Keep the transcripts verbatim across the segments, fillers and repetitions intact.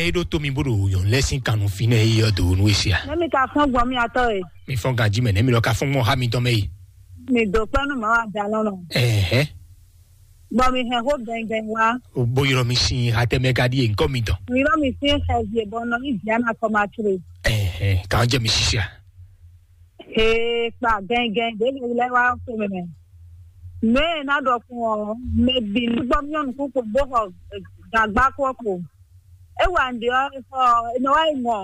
É ɖó tó mi bó ɖo nyɔ̌nu lɛ́ɛ sín kannú fínɛ́ é ɔ́ dǒ nú é sia. Nɛ́ mi ka fɔ́n gbɔn mì atɔ́ e? Mi fɔ́n ganjí mɛ, nɛ́ mi lɔ ka fɔ́n gbɔn xá mitɔn mɛ yi. Mi dǒ kpɛ́ nú Mawu ajalɔ́nɔ. Ɛhɛn. Bɔ mi hɛn xó gɛngɛn wá. Bó ylɔ́ mi sín xá tɛ́ mɛ ka ɖíe ŋkɔ mitɔn. Mi ylɔ́ mi sín xɛvi e bɔ nɔ ní Diana kɔ ma tlé. Ɛhɛn, kàn jẹ́ mi sísí a. Ee, kpa gɛngɛn ɖě lɛ́ɛ wá xwe mɛ. Nǔ e ná ɖɔ fún ɔ́, mɛ bǐ ní gbɔ myɔ́ nukún kpo bó xɔ gǎgbá kpɔ́ kpo. É wa nǔɖé ɔ́, é xɔ, é nɔ wá yi mɔ.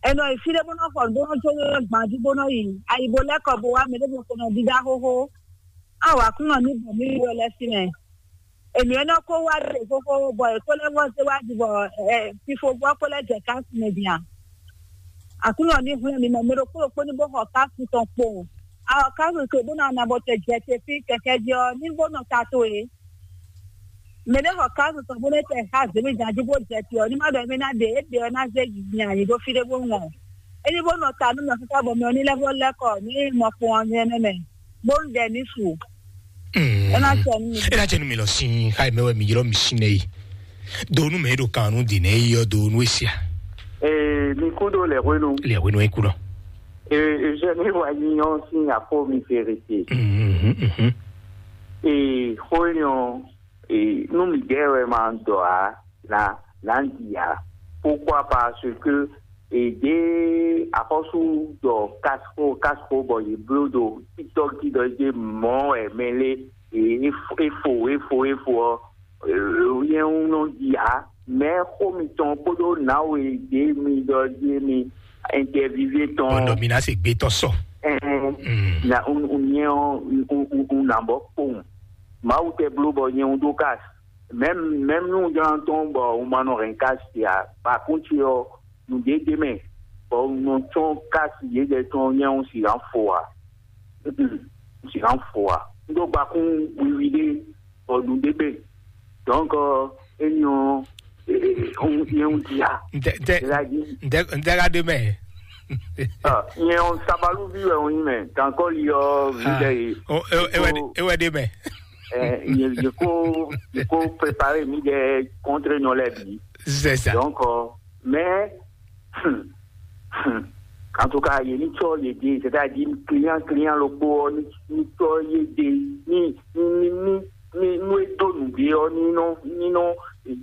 È nɔ yi fí ɖé bó nɔ́ xɔ nǔ bó nɔ́ jó gban jí bó nɔ́ yi ayi bó lɛ́ kɔ bó wá mɛ ɖěvo ko nɔ dídá xóxó. Á wǎ kún nɔ ní bɔ mí wɛ lɛ́ sí mɛ. Ènǔ e nɔ kó wá ɖe xóxó bɔ è kó lɛ́ vɔ́ zé wá jí bɔ ɛ fifo gbɔ kó lɛ́ jɛ kási mɛ din a? Aklúnɔ ní hwlɛ́n mi mɛ mɛ ɖokpó ɖokpó ní bó xɔ kási tɔn kpowun. A xɔ kási tɔn bó ná na bɔ tɛ jɛ te fí kɛkɛ jí ɔ́, ní bó nɔ ta towe. Mɛ ɖé xɔ kásu tɔn bó nɔ́ tɛ xá zěmíjan jí bó jɛ te ɔ́, ní má ɖɔ émí ná ɖe é ɖe ɔ́ ná zé nya yě ɖó fí ɖé bó ŋɔ. É ní bó nɔ ta nú mɛ xíxá bɔ mɛ ɔ́ ní lɛ́ vɔ́ lɛ́ kɔ ní mɔ kpɔn ɔ́ nyɛ nɛ́ mɛ, bó ń ɖɛ ní su. É ná jɛ nú mi. É ná jɛ nú mi lɔ sín xá mɛ wɛ mi ylɔ́ mi sín nɛ yi. Do nú mɛ e ɖo kan nú dǐn nɛ yi ɔ́ do nú e sia. Ee, mi kú ɖo lɛ̌ hwenu. Lɛ̌ hwenu e kú lɔ. Ee, Eugène wa nyi ɔ́ sín afó mi ferete. Mhm, mhm. Ee, xó énɛ́ ɔ́, ee, nú mǐdɛɛ wɛ ma ɖɔ ǎ, na na ɖi ǎ. Pourquoi? Parce que èdè axɔ́sú ɖɔ casco casco bɔ yě bló ɖo TikTok jí ɖɔ yě mɔ wɛ mɛ lé, é fo é fo é fo ɔ́, yɛn ń nɔ ɖi ǎ. Mɛ xó mitɔn kpódó nǎwe ɖě mi ɖɔ jí mi interviewé tɔn. Bɔn mi ná se gbé tɔn sɔ. Ɛn, Mm. Na un un nyɛ ɔ́ un un un nà bɔ kpowun. Mawu tɛ bló bɔ nyɛ un ɖó kas. Mɛm mɛm nú un jlán tɔn bɔ un ma nɔ hɛn kas sia, ba kún ce ɔ́, nǔɖé ɖ'é mɛ, bɔ un nɔ tsɔ́n kas yědɛɛ tɔn nyɛ un sixá fo ǎ. Un sixá fo ǎ. Un ɖó gbakún wiwi ɖé, bɔ nǔɖé gbe. Donc, énɛ́ ɔ́, nyɛ un dia. Ntɛ ntɛ Ela dzi. Ntɛ ntɛ ka ɖe mɛ. Nyɛ ɔ́, sabaluvi wɛ un nyí mɛ. Kankɔli ɔ́, vi ɖe yi. Ewɛ ɖe mɛ. Nyɛ ko nyɛ ko prepare mi ɖe contre nyɔ lɛ bi. C'est ça. Donc, mais, en tout cas, yɛ ni tsɔ yɛ de, c'est-à-dire client client loko ɔ́ ni ni tsɔ yɛ de ni ni ni ni nu e do nu de ɔ́ ni nɔ ni nɔ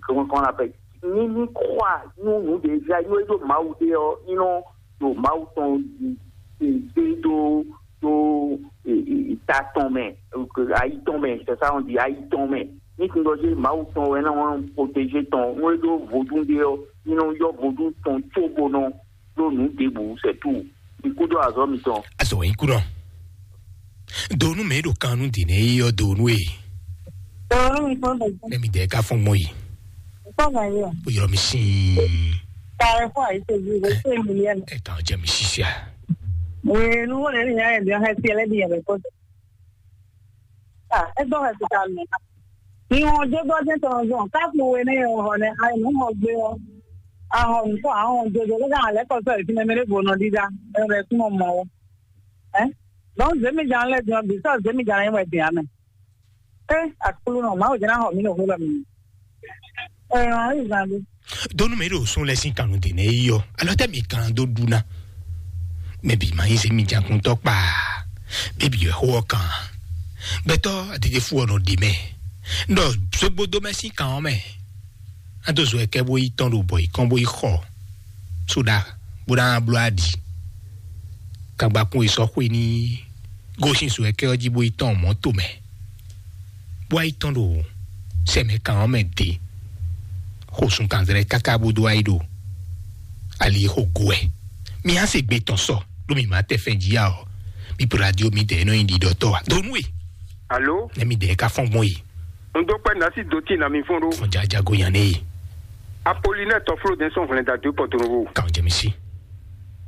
comment on appelle, ni ni croire nu nu de ja nu e do Mawu de ɔ́ ni nɔ do Mawu tɔn de do do ta tɔn mɛ, ayi tɔn mɛ, c'est ça on dit, ayi tɔn mɛ. Ni tun dɔ se Mawu tɔn wɛ na wan protéger tɔn nu e do vodun de ɔ́ ni nɔ yɔ vodun tɔn tso bo nɔ ɖó nǔ ɖěbǔ, c'est tout. Mi kúdó azɔ̌ mitɔn. Azɔ wɛ nyí kúnɔ. Donu mɛ ɖo kan nú dǐn nɛ yi ɔ́ donu e. Donu mi kɔ bɛ. Ne mi dɛ ka fɔn mɔ yi. Kɔ bɛ yɔ. Bó yɔrɔ mi sin. Kàrẹ fún àyíṣe bí o ṣe mi yẹn. Ẹ kàn jẹ mi ṣiṣẹ́. Wèé nu wọ́n lè ní ìyá ẹ̀ bí wọ́n fẹ́ fi ẹlẹ́dìí yẹn bẹ̀ kọ́. Ah, ẹ gbọ́ ẹ̀ ti ta mi. Ìwọ̀n jógbó jẹ́ tọ̀rọ̀ zọ̀n, káàpù wo ní ìwọ̀n hàn ní àìní hàn gbé wọn. Ahọ̀n nìkan àwọn òjòjò ló dáhùn lẹ́kọ̀ọ́ sọ̀rọ̀ ìfúnni mi lè bò nà dídá, ẹ̀rọ ẹ̀kún ọmọ wọn. Ẹ́, lọ́n zèmí jà ń lẹ́dùn ọbì, sọ̀rọ̀ zèmí jà ń wẹ̀ dì àmì. Ẹ́, àkúlù náà, máa ò jẹ́ náà hàn mí lòkú lọ mí. Ẹ̀rọ àìsàn mi. Donu mɛ ɖo sun lɛ sin kanu de nɛ yi ɔ, alɔ tɛ mi kan do ɖu na. Mɛ bi ma yi se mi jakuntɔ kpa. Bɛ bi yɔ xo ɔ kan. Gbɛtɔ adede fu ɔ nɔ de mɛ. Ndɔ zogbo do mɛ sin kan ɔ mɛ. Ado zo ɛkɛ bo yi tɔn ɖo bɔ yi kɔn bo yi xɔ. Soɖa bo na blo adi. Kagbakun yi sɔ xwe ni. Gosin zo ɛkɛ ɔ ji bo yi tɔn mɔto mɛ. Bó wá yi tɔn ɖo sɛmɛ kan ɔ́ mɛ dě. Xo sun kanzlɛ káká bó dó wá yi ɖo ali xo go wɛ. Mi á se gbe tɔn sɔ ɖó mi má tɛ fɛn jí ya ɔ. Mi po radio mi dɛ nɔ nyi ɖiɖɔ tɔ wa. Donu e. Alo. Ne mi dɛ ka fɔn gbɔn yi. N dó pẹ́ nasi dó tí na mi fún ɖó. Fɔn jajago yan ne yi. Apolinɛ tɔflo dɛn sɔn hwlɛn da dó pɔtorovo. Kan jɛ mi si.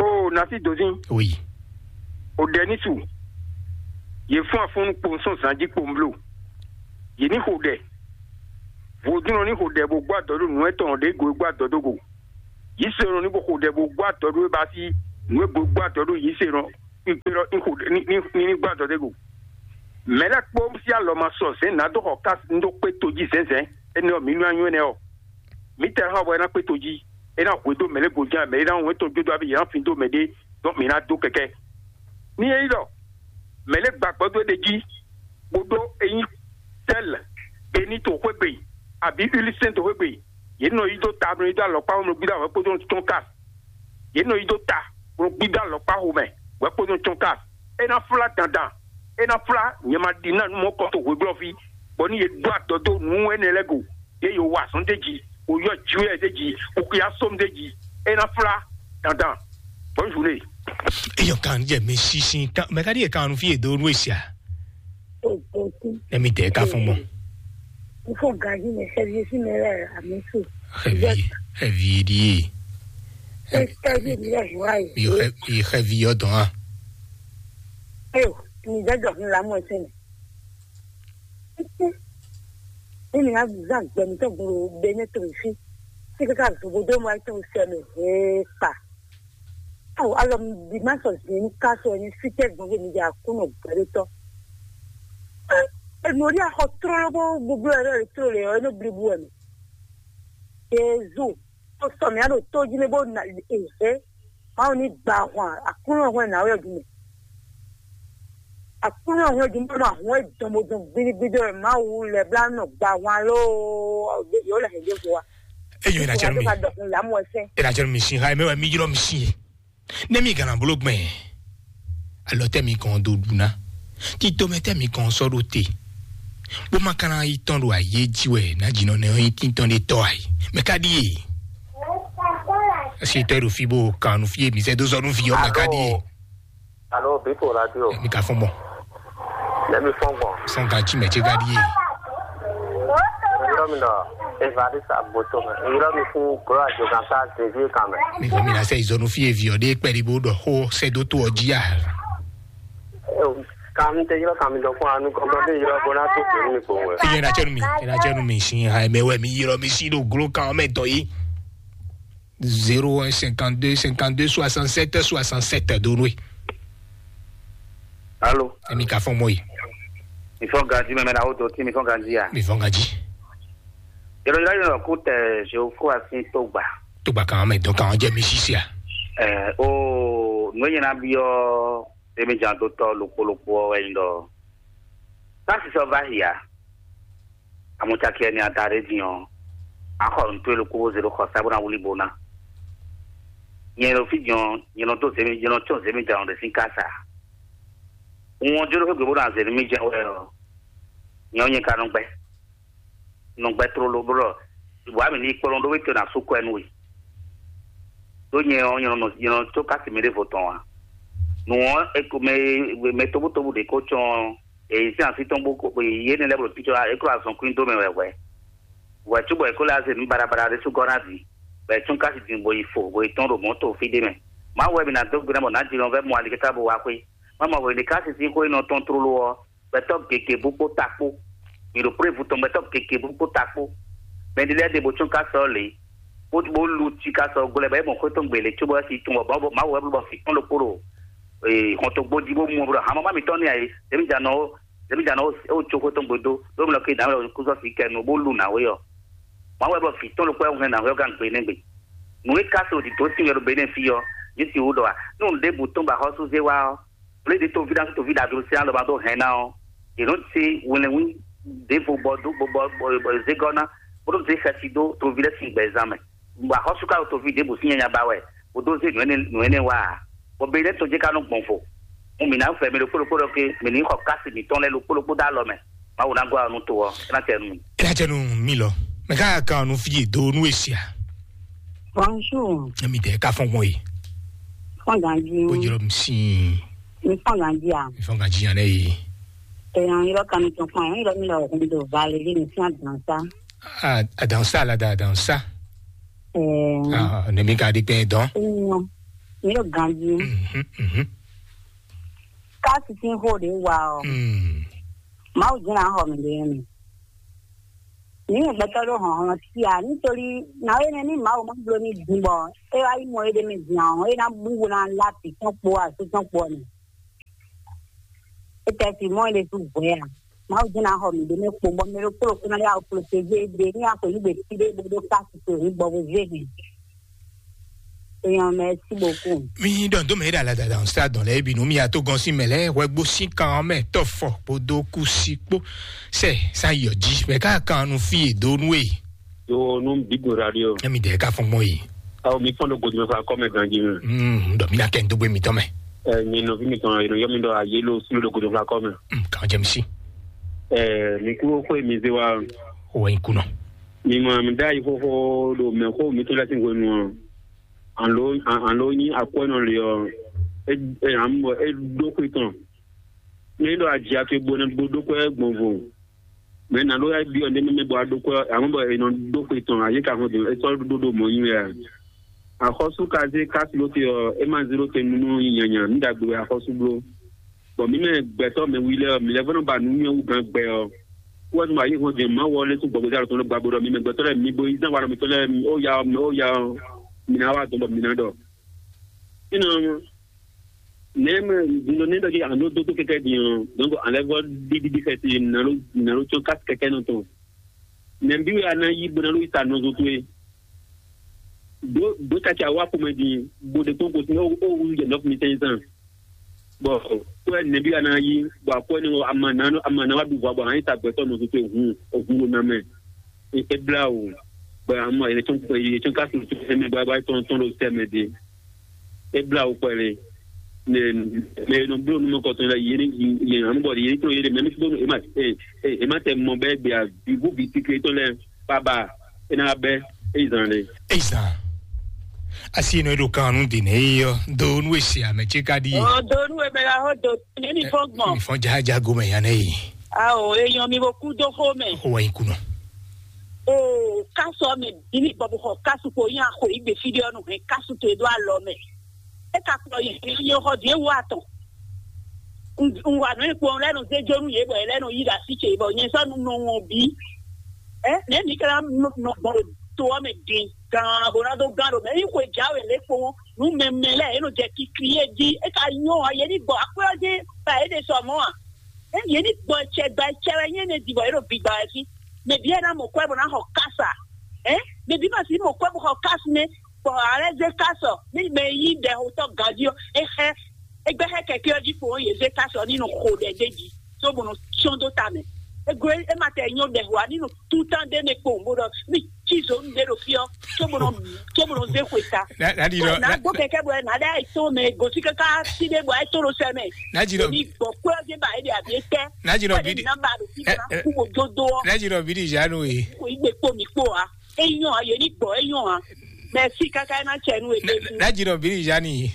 O nasi dozin. Oui. O dɛ ni su. Ye fún afɔnnu kpo sɔn zanji kpo nblo. Yě ní xo ɖɛ. Vodúnnɔ ní xo ɖɛ bó gbɔ adɔ ɖó nǔ etɔn ɖě go e gbɔ adɔ dó go. Yísɔnɔ ní bó xo ɖɛ bó gbɔ adɔ ɖó e ba sí nǔ e go e gbɔ adɔ ɖó yísɔnɔ kpíkpé lɔ ní xo ɖɛ ní ní ní ní gbɔ adɔ dó go. Mɛ̌ lɛ́ɛ kpó sí alɔ ma sɔ zɛ̌n nǎ dó xɔ ká ní dó kpé tojí zɛ̌nzɛ̌n énɛ́ ɔ́, mǐ nú anyú énɛ́ ɔ́. mǐtɛɛ hã wɛ ná kpé to jí. É ná hwedó mɛ lɛ́ɛ goján, mɛ é ná wɛn tɔn jó dó abí, yě ná fin dó mɛ ɖé, dɔn mǐ ná dó kɛkɛ. Ní é nyí ɖɔ mɛ lɛ́ɛ gba gbɔdó ɖé jí, bó ɖó eyín tɛ́lɛ, ení to xwé gbe, abǐ ilísɛ́n to xwé gbe, yě nɔ yí dó ta, nɔ yí dó alɔkpá, nɔ gbídá wɛ kpódó tɔn ká. Yě nɔ yí dó ta, nɔ gbídá alɔkpá xomɛ, wɛ kpódó tɔn ká. É ná flá dandan, é ná flá nyɛ ma ɖi ná nú mɔ̌ kɔ to hweglɔ́ví, bɔ ní yě ɖó adɔ dó nǔ énɛ́ lɛ́ɛ go. Yě yo wa azɔn d'é jí, o yɔ jwɛ d'é jí, o xia sɔm d'é jí, é ná flá dandan. Bonne journée. Eyɔ kan jɛ mi sisi kan mɛ ka di kan nu fi edo nu esia. Nɛ mi tɛ ka fɔn mɔ. N fɔ gaji mɛ sɛbi si mɛ lɛ ami su. Xɛvi xɛvi di ye. Sɛbi mi lɛ hua ye. Mi xɛ mi xɛvi yɔ dɔn a. Eyo, mi jɛ jɔ fún lamɔ ɛsɛ mɛ. Ní mi ná zán gbɛ mǐtɔn gbló ɖe ní towe fí. Tí káká zobo dó mɔ ayé tɔn sɛ mɛ hee kpa. Awo alɔ mi bí má sɔ zǐn ní ká sɔ ní fítɛ́ gbɔn fún mi jɛ Aklúnɔ gbɛɖótɔ́. Enu orí axɔ tlóló bó gbogbo ɛrɛ rɛ tló lɛ ɔ́, é nɔ blibu wɛ mɛ. Jezu, tó sɔ mǐ á ɖo tó jí mɛ bó na èzé. Mawu ní gba ahwan Aklúnɔ hwɛ́n nǎwe ɔ́ jí mɛ. Aklúnɔ hwɛ́n jí mɔ ahwan e dɔn bó dɔn gbídígbídí ɔ́, Mawu lɛ́ blá nɔ gba ahwan lóó, yǒ lɛ hɛn ɖěvo wa. Eyɔn, ina jɛnu mi. Ka dɔkun lamu ɛsɛ. Ina jɛnu mi sin ha mɛ wɛ mi ylɔ mi sin ye. Ne mi gana bolo gbɛn. Alɔ tɛ mi kɔn do ɖu ná. Tito mɛ tɛ mi kɔn sɔ ɖo te. Bó ma kana yi tɔn ɖo ayé jí wɛ ná jinɔ nɛ yi tintɔn ɖe tɔ ayi. Mɛ ka ɖi ye. Esi tɔ ɖo fi bó kan nu fi ye mi sɛ do sɔ nu fi yɔ mɛ ka ɖi ye. Alo, Biko Radio. Mi ka fɔn bɔ. Lɛmi fɔn gbɔn. Sɔn kan ci mɛ ce ka ɖi ye. Yɔrɔ mi nɔ Evariste Agboto mɛ. Yɔrɔ mi fún Gloire Jogan sa Xavier kan mɛ. Mi fɔ mi na sɛ izɔnu fi ye vi ɔ ɖe kpɛɖi bó ɖɔ xó sɛ dó tó ɔ jí a. Kan mi tɛ yɔrɔ kan mi dɔ fún anu kɔntɔn bí yɔrɔ bó ná tó pé mi kpowun wɛ. Iye na cɛnu mi, ina cɛnu mi sin ha mɛ wɛ mi yɔrɔ mi si ɖo glo kan mɛ tɔ yi. Zéro un cinquante-deux cinquante-deux soixante-sept soixante-sept donu. Alo. Emi ka fɔn mɔ yi. Mi fɔn ganji mɛ mɛ na o do ti mi fɔn ganji ya. Mi fɔn ganji. Yɔrɔ yɔrɔ yɔrɔ ko tɛ Jehofa sin tó gba. Tó gba kan mɛ dɔn kan jɛ mi sisi a. Ɛ o nue nyina biɔ emi jan dotɔ lokpo lokpo ɔ wɛ nyi dɔ. Tasi sɔ va hia. Amɔcaki ɛni ada ɖe din ɔ, axɔ nutó e ɖokpó bó zé ɖó xɔ sá bó ná wlí bó ná. Nyɛ ɖo fí din ɔ, nyɛ nɔ dó zé mi, nyɛ nɔ tsɔ́n zé mi jɛ ɖe sín kása. Un ɔ́ jó ɖó xwé gbe bó ná zé nú mì jɛ wɛ ɔ, nyɛ ɔ́ nyɛ ka nɔ gbɛ. Nɔ gbɛ tlóló bó ɖɔ, wǎ mǐ ní kplɔ́n ɖó wé to ná sú kwɛ nú we. Ɖó nyɛ ɔ́, nyɛ nɔ nyɛ nɔ tó kási mi ɖěvo tɔn ǎ. Nǔ ɔ́, mɛ mɛ tóbútóbú ɖě kó tsɔ́n ɔ́, èyí sín así tɔn bó kó yé ní lɛ́ bó ɖo pítsɔ é kó azɔn kwín dó mɛ wɛ hwɛ̌. Hwɛ̌ cóbɔ è kó lɛ́ azé nǔ baɖabaɖa ɖé sú gɔ́ ná vǐ, bɔ è cún kási din bó yi fo, bó yi tɔ́n ɖo mɔ̌ to fí ɖé mɛ. Mawu wɛ mi ná dó gbe ná bɔ nǎ jínɔ vɛ́ mɔ alikɛta bó wá xwé. Má mɔ hwě ní kási sín xó e nɔ tɔ́n tlóló ɔ́, gbɛtɔ́ gěgé bú kpó ta kpó. Mi ɖo prévu tɔn gbɛtɔ́ gěgé bú kpó ta kpó. Mɛ ɖi lɛ́ɛ ɖe bó tsún ká sɔ́ lě, bó bó lu cí ká sɔ́ glɔ́ bɔ é mɔ xwé tɔn gbě lě cóbɔ é si tún bɔ Mawu wɛ bló bɔ fǐ tɔn ɖokpó ɖo hɔntogbó jí bó mɔ bló hamama mǐtɔn ní ayé. Ɖěmǐ jǎ nɔ ó ɖěmǐ jǎ nɔ ó có xwé tɔn gbé dó ɖó mlɔ ké dǎmlɔ kú sɔ́ fǐ kɛ nu bó lu nǎwe ɔ́. Mawu wɛ bló fǐ tɔn ɖokpó ɛ́ hɛn nǎwe ɔ́ gán gbé nɛ́ gbe. Nǔ e ka se òdì tó sin wɛ ɖo Benɛ́ɛ fí ɔ́, yě si wú ɖɔ a? Ní nǔ ɖěbǔ tɔn ba xɔ́sú zé wá ɔ́, Blédě toví ná toví ɖaglo sín alɔ ba dó hɛn ná ɔ́, yě nɔ se wɛnlɛnwí ɖěvo bɔ dó bɔ bɔ bɔ zégɔ́ ná, bó nɔ zé xɛsi dó toví lɛ́ɛ sín gbɛzán mɛ. Bɔ axɔ́sú ka ɖo toví ɖěbǔ sín nyanya ba wɛ, bó dó zé nǔ énɛ́ nǔ énɛ́ wá ǎ. Bɔ Benɛ́ tɔn jɛ ka nɔ gbɔn vo. Un mǐ ná fɛ mi ɖokpó ɖokpó ɖɔ ké mi ní xɔ kási mǐtɔn lɛ́ɛ ɖokpó ɖokpó dó alɔ mɛ. Mawu ná gɔ́ alɔ nú to ɔ́, é ná tɛ nú mi. É ná tɛ nú mi lɔ. Mɛ ká kan nu fi do nú esia. Bonjour. Emi tɛ ka fɔn gbɔn yi. Fɔn ganji. Ó jọrọ mi sin. Mi fɔn ganji a? Mi fɔn ganji yan lɛ yi. Èèyàn yọrọ kan mi tún fún ẹ, yọrọ mi lọ òkun tó Valérie mi fún àdán sá. Ah, àdán sá la da àdán sá. Ẹ̀ẹ́. Ah, ne mi ka di pé dán. Èèyàn mi yóò ganji. Mhm, mhm. Káàsì tí ń hó de wà ọ. Mm. Màá ò dín náà hàn mí lé mi. Ní ìgbẹ́tọ́ ló hàn hàn sí à nítorí náà ó yẹn ní màá ò má gbó ní dùn bọ̀. É wá yí mọ édè mi dùn àwọn é ná búwo náà láti tán po àti tán po ni. É tẹ́ fi mọ́ ilé tó bọ̀ yà. Mawu jɛ́n ná xɔ mǐ ɖé mɛ kpo bɔ mɛ ɖokpó ɖokpó ná yá wɔ protéger ɖe ní axɔ̌ yí ɖe fí ɖé bó ɖó kási torí bɔ bó zé hɛn. Èèyàn, merci beaucoup. Mi ɖɔ dó mɛ ɖe alada dan sa dɔn lɛ bi nu mi ato gɔn si mɛ lɛ hwɛ gbó si kan mɛ tɔ fɔ kpodo kusi kpo sɛ sa yɔ ji mɛ ká kan nu fi e do nu e. Yo nu bigo radio. Emi dɛ ka fɔn gbɔn yi. Awo mi fɔn do godo mɛ fa kɔ mɛ ganji mɛ. Mm, dɔ mi na kɛ n dogbe mi tɔ mɛ. Ɛ mi nɔ fi mi tɔn yɔ mi dɔ ayi lo sulu do godo fa kɔ mɛ. Mm, kan jɛ mi si. Ɛ mi kúrò kó mi zé wa. O wɛ n kunɔ. Mi mɔ mi da yi xóxó ɖo mɛ xó mi tó lɛ sín hwenu ɔ. An lo an lo nyi akwɛ́nɔ li ɔ, e e an bɔ e ɖó xwe tɔn. Ne ɖo aji ake bo ne bo ɖó kwɛ gbɔn vo. Mɛ na ɖo ya bi ɔ ne mɛ bɔ a ɖó kwɛ amɔ bɔ e nɔ ɖó xwe tɔn ayi ka hɔn do e sɔ ɖó ɖo mɔ nyi wɛ. Axɔ́sú ka zé kási ló te ɔ, e ma zé ló te nú nyanya ní ɖagbe wɛ axɔ́sú bló. Bɔ mǐ mɛ gbɛtɔ́ mɛ wi lɛ́ɛ ɔ́, mǐ lɛ́ vɔ́ nɔ ba nǔ nyɔ́ wú gán gbɛ ɔ́. Wɛ́ nú ayé hɔn jɛ Mawu ɔ́ lɛ́ tún gbɔgbɛzá tɔn ɖo gbàgbé ɖɔ mǐ mɛ gbɛtɔ́ lɛ́ɛ mi bo yí zán wa ɖɔ mǐtɔn lɛ́ɛ ó ya ɔ́, ó ya ɔ́, mǐ ná wa dɔn bɔ mǐ ná ɖɔ. Fínɛ́ ɔ́, nɛ̌ mɛ dundun ní ɖɔ jí a nǎ dó dó kɛkɛ́ din ɔ́, donc a lɛ́ vɔ́ ɖíɖíɖí xɛsi nǎ ɖó nǎ ɖó cɔ́n kási kɛkɛ́ nɔ tɔn. Nɛ̌ bí wɛ a ná yí bó ná ɖó yi sa nɔzo towe? Ɖǒ ɖǒ caki awá xomɛ din, bó ɖe kpɔ́n gosín ó ó wú jɛ nɔ́ fún mi tɛ́nzán. Bɔ kwɛ nɛbí a ná yí, bɔ akwɛ ní ama ná ama ná wá ɖu vɔ bɔ a nyi ta gbɛtɔ́ nɔ tuntun hun hun ɖo ná mɛ. E blá o, bɔ ama yɛ tɔn yɛ tɔn ká sɔn tɔn ɛmɛ bɔ a tɔn tɔn ɖo sɛ mɛ de. E blá o kpɛlɛ. Mɛ mɛ nɔ bló nu mɔ kɔtɔn la yɛ ni yɛ anu bɔ yɛ tɔn yɛ de mɛ mi sibɔ e ma e e ma tɛ mɔ bɛ gbɛ a bi bu bi tikle tɔn lɛ baba e na bɛ e zan le. Ezan. Asi nɔ ɖo kan nu di ne yi yɔ do nu esi ame tse ka di ye. Ɔ do nu eme la ho do ne mi fɔ gbɔn. Mi fɔ jaja gome ya ne yi. Awo eyɔn mi bo ku do xo mɛ. O wa yi kunɔ. O kasu ɔmɛ bili bɔ bo xɔ kasu ko yin axɔ yi gbe fi de ɔnu hɛn kasu to edo alɔ mɛ. E ka kplɔ yi yi xɔ di ewu atɔn. N wa nɔ ekpɔn lɛ nɔ zé jonu ye bɔ ye lɛ nɔ yi ɖe asi ce bɔ nyɛ sɔ nu nɔ wɔn bi. Ɛ ne mi kla nɔ gbɔn to ɔmɛ din gan bo na do gan do mɛ yi xwe ja wɛ le kpɔn nu mɛmɛ lɛ e nɔ jɛ kikli ye di e ka nyɔ a ye ni gbɔ akpɛ ɔdi ba e de sɔ mɔ a e ye ni gbɔ cɛ gba cɛ wɛ nye ne di bɔ e nɔ bi gba wɛ fi mɛ bi e na mɔ kɔ e bo na xɔ kasa ɛ mɛ bi ma si mɔ kɔ e bo xɔ kasi ne bɔ alɛ ze kasɔ mi mɛ yi dɛ hotɔ gadi ɔ e xɛ e gbɛ xɛ kɛkɛ ɔ di kpɔn ye ze kasɔ ni nɔ xo dɛ de di so bo nɔ sɔn do ta mɛ e gbe e ma tɛ nyɔ dɛ hwa ni nɔ tutan de ne kpɔn bo dɔ mi ci zonu de ɖo fi ɔ tso bo nɔ tso bo nɔ ze xwe ta. Nadi dɔ na gbɔ kɛkɛ bɔ na ɖe ayi tɔn mɛ gosi kaka si de bɔ ayi tɔn ɖo sɛ mɛ. Nadi dɔ bi gbɔ kpɛ ɔdi ba eɖe abi etɛ. Nadi dɔ bi di na ba ɖo fi na ku bo dodo ɔ. Nadi dɔ bi di zanu ye. Ko igbe kpo mi kpo a. Eyɔn a ye ni gbɔ eyɔn a. Mɛ si kaka na cɛ nu ebe. Nadi dɔ bi di zani ye.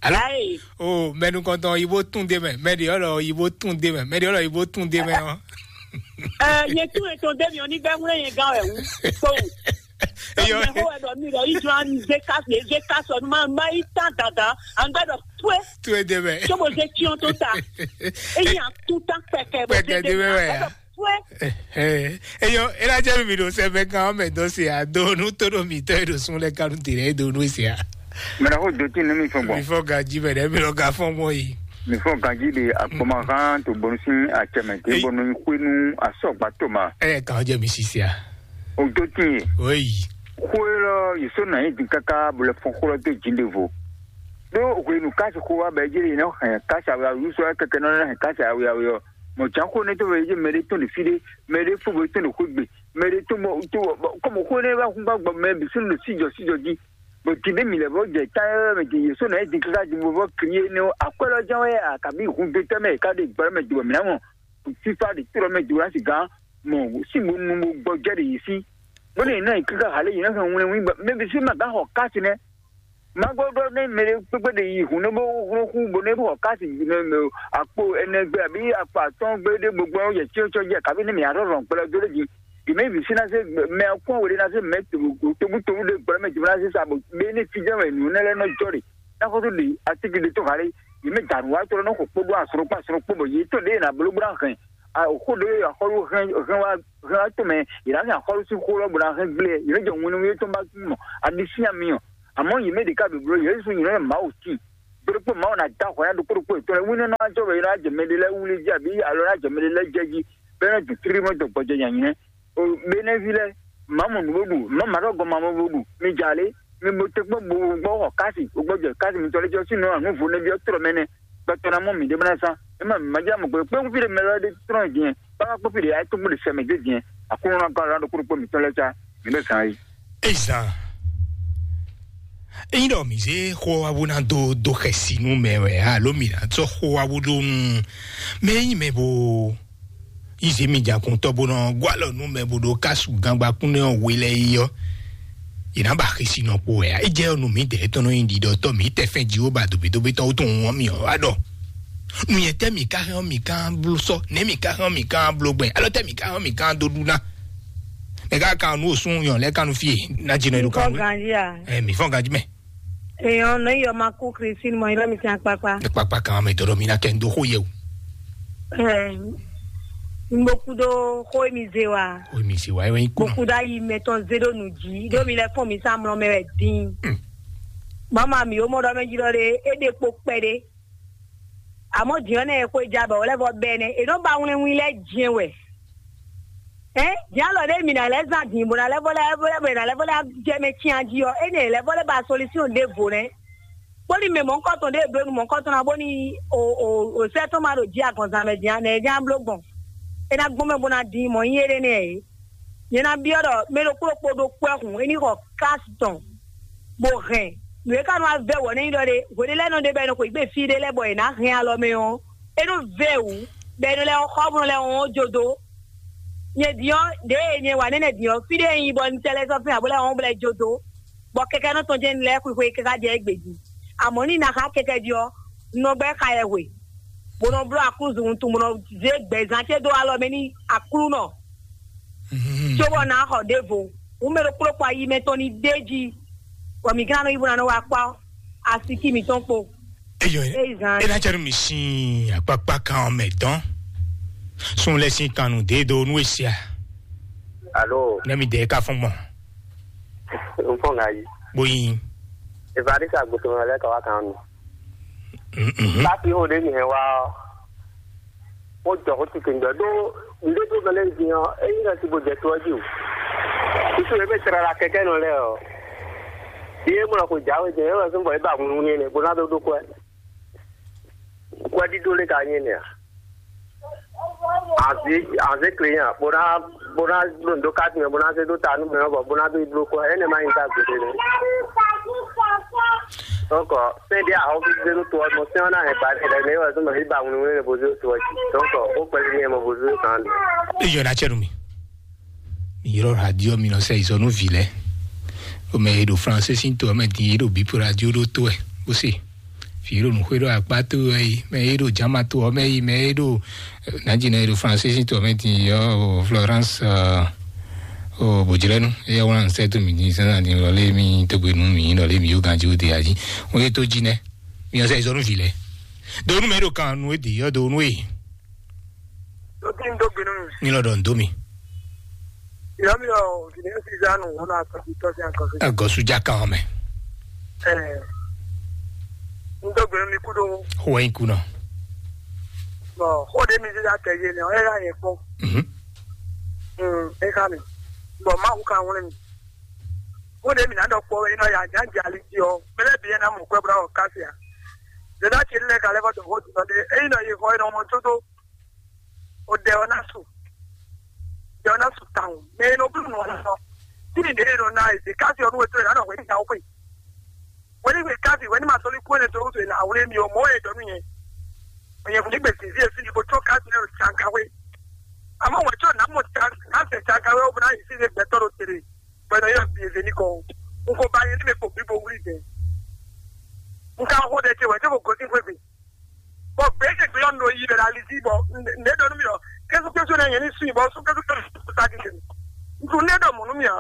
Alo. Ayi. O mɛnu kɔntɔn yibo tun de mɛ mɛ de ɔlɔ yibo tun de mɛ mɛ de ɔlɔ yibo tun de mɛ ɔ. Ɛ nye tún etɔn dé mi ò ní gbẹ́ ŋúlẹ̀ yẹn gán ẹ̀ wú. Kpóhùn. Eyɔ. Ɔmọ ẹ̀hó ẹ̀dọ̀ mi rẹ̀ yí jọ an zé ká zé ká sọ ní máa máa yí tán dandan. À ń gbẹ́dọ̀ pé. Tó e dé mɛ. Tó mo zé tiọ́ tó ta. Eyín à ń tún tán pẹ̀kẹ́ bó zé dé mɛ. À ń gbẹ́dọ̀ pé. Eyɔ, ela jẹ́ mi ɖo sɛbɛ kan ɔmɛ dɔ se a do nu to ɖo mi tɔ e ɖo sun lɛ kanu te lɛ e do nu se a. Mɛ na ko do tin ne mi fɔ gbɔn. Mi fɔ gaji mɛ ɖe mi lɔ ga fɔ mɔ yi. Mi fɔ gaji de akpɔmahan to bɔnu sin acɛmɛ te bɔnu xwenu asɔgba to ma. Ɛ kan jɛ mi sisi a. O do tin ye. Oyi. Xwe lɔ yi so na yi din kaka bo lɛ fɔn xo lɔ do jin de vo. Do hwenu kasi xo wa bɛ jiri yi nɔ hɛn kasi awia yu so kɛkɛ nɔ hɛn kasi awia awia. Mɔ jan xo ne to bɛ yi mɛ de tɔn de fi de mɛ de fo bɛ tɔn de xo gbe mɛ de tɔn bɔ to bɔ kɔmɔ xo ne ba hun ba gbɔ mɛ bi sun de si jɔ si jɔ ji. Bɔ ti de mi lɛ bɔ jɛ ta yɛ mɛ ti ye so na yi din kaka ji bo bɔ kiri ye ne o akwɛ lɔ jan wɛ a kabi hun do tɛ mɛ ka de gbɛ mɛ jɔ mɛ na mɔ. Fifa de to lɔ mɛ jɔ la si gan mɔ si bo nu bo gbɔ jɛ de yi si. Bó ne yi na yi kaka hale yi na hɛn wlɛn win ba mɛ bi si ma gan xɔ kasi nɛ. Magbɔ ɖɔ ne mɛ ɖe kpekpe ɖe yi hun ne bo hlɔn xu bo ne bo xɔ kasi ne mɛ akpo ɛnɛ gbe abi akpo atɔn gbe ɖe gbogbo yɛ tiɔtiɔ jɛ kabi ne mɛ arɔ rɔn gbɛlɛ do ɖe ji yi mɛ vi si na se mɛ kɔn wele na se mɛ tobu tobu ɖe gbɛlɛ mɛ jibɔ na se sa bo be ne fi jɛ mɛ nu ne lɛ nɔ jɔ ɖe na xɔtu ɖe atiki ɖe to hale yi mɛ danu wa tɔ nɔ xɔ kpo ɖo asrɔ kpo asrɔ kpo bɔ yi tɔ ɖe na bolo gbra hɛn a xo ɖe axɔlu hɛn hɛn wa hɛn wa tɔ mɛ yi na hɛn axɔlu si xo lɔ bo na hɛn gble yi ne jɔ ŋunu yi tɔ ba mɔ adi si ami ɔ. Àmọ́ yě mɛ ɖě ká ɖo bló Jezu nyí nɔ Mawu tíin. Ɖokpó Mawu ná da hwɛ ná ɖokpó ɖokpó yětɔn lɛ́ɛ wínú ná jɔ wɛ ná jɛ mɛɖé lɛ́ɛ wlí jí abǐ alɔ ná jɛ mɛɖé lɛ́ɛ jɛ jí bɔ é ná ju tlímɔ dɔ gbɔjɛ nyanyɛ. O Benɛvi lɛ́ɛ, Mawu nǔ bó ɖu, Mawu ma ɖɔ gɔn ma bó ɖu, mi ja lé, mi bo te kpɔ́n bo gbɔ xɔ kási, bo gbɔ jɛ kási mitɔn lɛ́ɛ jɔ sínú nǔ vo nɛ́ byɔ́ trɔ mɛ nɛ́, gbɛtɔ́ ná mɔ mǐ ɖé bó ná zán. É ma mǐ ma jɛ mɔ gbe kpé fí ɖé mɛ lɛ́ɛ ɖé trɔ́n din, bá ká kpó fí ɖé ayé tó kpó ɖe sɛ mɛ dé din, Aklúnɔ ná gɔ́ alɔ ná ɖokpó ɖokpó mitɔn lɛ́ɛ cá, mǐ ɖo zán yí. Ezan. Ényí ɖɔ mǐ zé xó ɔ́ wá bó ná dó dó xɛsi nú mɛ wɛ alo mǐ ná sɔ́ xó wá bó ɖó nú mɛ e nyí mɛ bo yí zě mi jǎkuntɔ́ bó nɔ gɔ́ alɔ nú mɛ bo ɖó kásu gangbakún nɛ́ ɔ́ we lɛ́ɛ yi ɔ́, yě ná ba xɛsi nɔ kpo wɛ ǎ. É jɛ ɔ́ nú mǐdɛɛ tɔn nɔ nyí ɖiɖɔtɔ́ mǐ tɛ fɛn Jihova dobédobé tɔn wútu wɔn mǐ ɔ́ wá ɖɔ nǔnyɛ tɛ́ mǐ ka hɛn ɔ́ mǐ ka bló sɔ́, nɛ̌ mǐ ka hɛn ɔ́ mǐ ka bló gbɛn, alɔ tɛ́ mǐ ka hɛn ɔ́ mǐ ka dó ɖu ná? Mɛ ka kan nú osún yɔn lɛ kan nú fie na dzi nɔ yi ɖo kan. Ganji a? Ɛ mi fɔn ganji mɛ. Èèyàn náà yọ máa kú Christine mọ ilé mi tiẹ̀ pápá. Kpakpa kan mɛ dɔdɔ mi na kɛ n do xó yẹ o. Ẹ n bó kú dó xó mi zé wa. O mi si wa ewé kú Bó nɔ. Kú dó ayi mɛtɔn zé ɖó nǔ jí ɖó mi lɛ fún mi sá mlɔ mɛ wɛ dín. Mama mi ó mɔ ɖɔ mɛ jí ɖɔ ɖe é ɖe kpo kpɛɖé. Àmọ́ jǐnɔ́ nɛ́ e xwé ja bɔ wǒ lɛ́ vɔ bɛ́ nɛ́ è nɔ́ ba wlɛnwin lɛ́ jɛ́n wɛ. Ɛ jǎn lɔ ɖé mi ná lɛ́ zán din bó ná lɛ́ vɔ lɛ́ vɔ lɛ́ bɔ è nǎ lɛ́ vɔ lɛ́ jɛ mɛ cyán jí ɔ́, énɛ́ è lɛ́ vɔ lɛ́ ba solúsyɔn ɖěvo nɛ́. Bóni mɛ mɔ̌hunkɔtɔn ɖé ɖó nu mɔ̌hunkɔtɔn ná bóni o o o sɛ́ tɔn ma ɖo jí agɔnzán mɛ din ɔ́, nɛ̌ é ján bló gbɔn? É ná gbɔn mɛ bó ná din mɔ̌ nyí éɖée nɛ́ ǎ é. Nyɛ ná byɔ́ ɖɔ mɛ ɖokpó ɖokpó ɖó kwɛ́ hǔn é ní xɔ kási tɔn, bó hɛn nǔ e ka nɔ wá vɛ́ wɔ nɛ́ nyí ɖɔ ɖé hweɖé lɛ́ɛ nɔ ɖe bɔ è nɔ xweyǐgbe fí ɖé lɛ́ɛ bɔ è nǎ hɛn alɔ mɛ ɔ́, é nɔ vɛ́ wǔ bɔ è nɔ lɛ́ xɔ bó nɔ lɛ́ wɔn jó dó. Nyɛ din ɔ́, ɖěe nyɛ wa nɛ́nɛ din ɔ́, fí ɖé e nyí bɔ un tɛ lɛ́ sɔ́ fɛ́n ǎ bó lɛ́ wɔn bó lɛ́ jó dó, bɔ kɛkɛ́nɔ tɔn jɛ́n un lɛ́ xwixwe káká jɛ égbé jí. Amɔ̌ ní na xá kɛkɛ́ jí ɔ́, un nɔ gbɛ́ xayɛhwe, bó nɔ bló aklúzu wuntun, bó nɔ zé gbɛ̌zán ce dó alɔ mɛ n'i Aklúnɔ, cóbɔ ná xɔ ɖěvo. Hǔn mɛ ɖokpó ɖokpó ayi mɛ tɔn ní ɖ'é jí, bɔ mǐ ka ná nɔ yí bó ná nɔ wá kpá asikí mǐtɔn kpo. Eyɔ, Ezan. E ná cɛ nú mi sín akpakpa kan ɔ́ mɛ dɔn. Sun lɛ sín kan nú dé do nú esia. Alo. Ne mi dɛ ka fɔn gbɔn. N fɔn ŋa yi. Boyin. Evangelist agbófinró lɛ ka wá kan nù. Mhm. Láti ó ɖe mi hɛn wá ɔ́. Ó jɔ ó ti kɛngbɛ ɖó ŋɖé tó mɛ lɛ́ɛ din ɔ́, é nyí lɛ́ sí bó jɛ tó ɔ́ jí o. Susu é bɛ tlala kɛkɛ nɔ lɛ́ɛ ɔ́. Yé mɔ xwe jǎwe jɛ é wɛ zɔ́n bɔ é ba hunhun n'i nɛ bó ná dó ɖó kwɛ. Kwɛɖíɖó lé ka nyí nɛ́ a? Anze anze kle nya bó ná bó ná ɖo nǔ ɖó káàdì mɛ bó ná zé dó ta nú mɛ ɔ́ bɔ bó ná dó yi bló kɔ énɛ́ má nyí ká gbeɖé nɛ́. Donc sɛ́n ɖé ahɔ́ví zé dó to ɔ́ mɔ sɛ́n ɔ́ ná hɛn ba ɖé lɛ́ɛ nɛ́ wɛ zɔ́n mɛ hí ba wlí wlí bó zé dó to ɔ́ jí. Donc ó kpɛlí ní ɛ mɔ bó zé dó tán. Eyɔ na cɛ nú mi. Mi yrɔ radio mi nɔ sɛ izɔ nú vi lɛ. O mɛ e ɖo français sín to ɔ́ mɛ din e ɖo bip radio ɖó to ɛ bó se. Fi ɖo nǔxwé ɖo akpá to ɛ yi, mɛ e ɖo jama to ɔ́ mɛ yi, mɛ e ɖo nàjínɛ e ɖo français sín to ɔ́ mɛ din yɔ o Florence o bòjlɛnu e yɛ wlán sɛ to mi din sɛnɛ din lɔlé mi togbe nú mi lɔlé mi yó ganji o de aji. O ye to jinɛ. Mi yɔ sɛ izɔ nú vi lɛ. Do nú mɛ e ɖo kan nú e de yɔ do nú e. Tó tí ń dógbe nínú. Ní lọ́dọ̀ ń dó mi. Ìyá mi ò sì ní fi ìyanu wọn náà sọ fi tọ́sí àkọsí. Agɔsu já kan mɛ. Ẹ ń dógbe nínú ikú tó. Xó ẹ ikú náà. Bọ̀ ó dé mi sí àtẹ̀yé ni ọ̀rẹ́ rà yẹn pọ̀. Mhm. Ẹ ká mi. Bọ̀ má wù ká wọn mi. Ó dé mi náà dọ̀ pọ̀ ẹ náà yà já jà lí jí ọ. Bẹ́lẹ̀ bí ẹ náà mọ̀ pẹ́ búra ọ̀ ká sí à. Dèdá ti lẹ kalẹ fọtò fọtò lọdẹ eyi nọ yi xɔ yi nọ mọ tó tó. O dẹ ọ na su. Dẹ ọ na su tawun mɛ e nɔ blu nɔ na nɔ. Tí mi dé nɔ na èdè káfí ọdún wẹtú rẹ lánàá wẹni ìyàwó pé. Wẹni wẹ káfí wẹni ma sọlí kúrò ní tó tó ìlà àwòrán mi ò mọ ẹ dọnu yẹn. Òyìn fún nígbè tí ìdí èsì ìbò tó káfí náà ṣàǹkàwé. Àmọ́ wọ́n tí ò ná mọ̀ káfí ṣàǹkàwé ó bá yìí sí ilé gbẹ́tọ́ ló tèrè. Pẹ̀lú yóò bí èdè ní kọ́. N kò bá yẹn ní mi kò bí bo wúlì dẹ̀. N ka xó dẹ̀ tiẹ̀ wẹ̀ tí kò gòsí fún mi. Bɔ gbɛɛ kɛ gbɛɛ nɔ yi bɛ la li si bɔ ne dɔ nu mi ɔ kɛsu kɛsu ne yɛ ni su bɔ su kɛsu kɛsu sa di kɛ. Ntu ne dɔ mɔ nu mi a.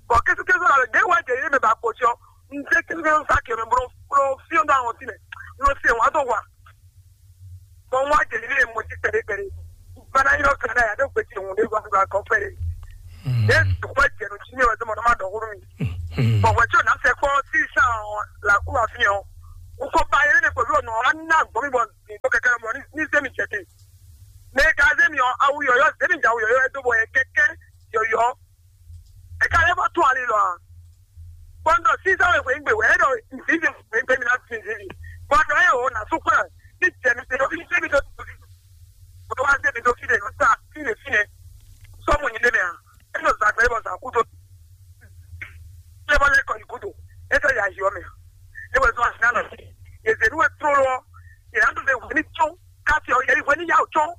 Bɔ kɛsu kɛsu la de wa jɛ yi mɛ ba ko sɔ. N tɛ kɛsu kɛsu sa kɛ mɛ bro bro fiɔ do awon si mɛ. Lo se wa do wa. Bɔ wa jɛ yi mɔ ti pɛrɛ pɛrɛ. Bana yɔ kana ya do gbɛ ti hun de wa do akɔ pɛrɛ. Ne wa jɛ nu ti mi wa do mɔ ma dɔ huru mi. Bɔ wɛ tí o na fɛ kpɔ ti sa la ku wa fi ɔ. Ko ba yɛ ne ko lo nɔ a na gbɔ mi bɔ mi to kɛkɛ bɔ ni ni se mi jɛ te. Ne ka se mi ɔ awu yɔyɔ se mi ja awu yɔyɔ e do bɔ yɛ kɛkɛ yɔyɔ. E ka le bɔ to ali lɔ a. Bɔndɔ sisan wɛ wɛ ngbe wɛ e dɔ nzivi wɛ ngbe mi na fi nzivi. Bɔndɔ e o na su kura ni jɛ mi se o fi se mi do to fi. O to wa se mi do fi de o sa fi de fi ne. Sɔmu nyi de mɛ a. E dɔ zagbe bɔ za ku do. Lé bɔ lé kɔ yi gúdo. É fẹ́ ya yi ɔ́ mɛ. É wɛ zɔn asi nánɔ. Yě zě nú wɛ tlóló ɔ́. Yě ná ɖu lé hwɛ ní tsɔ́n. Káfí ɔ́, yě hwɛ ní yá ò tsɔ́n.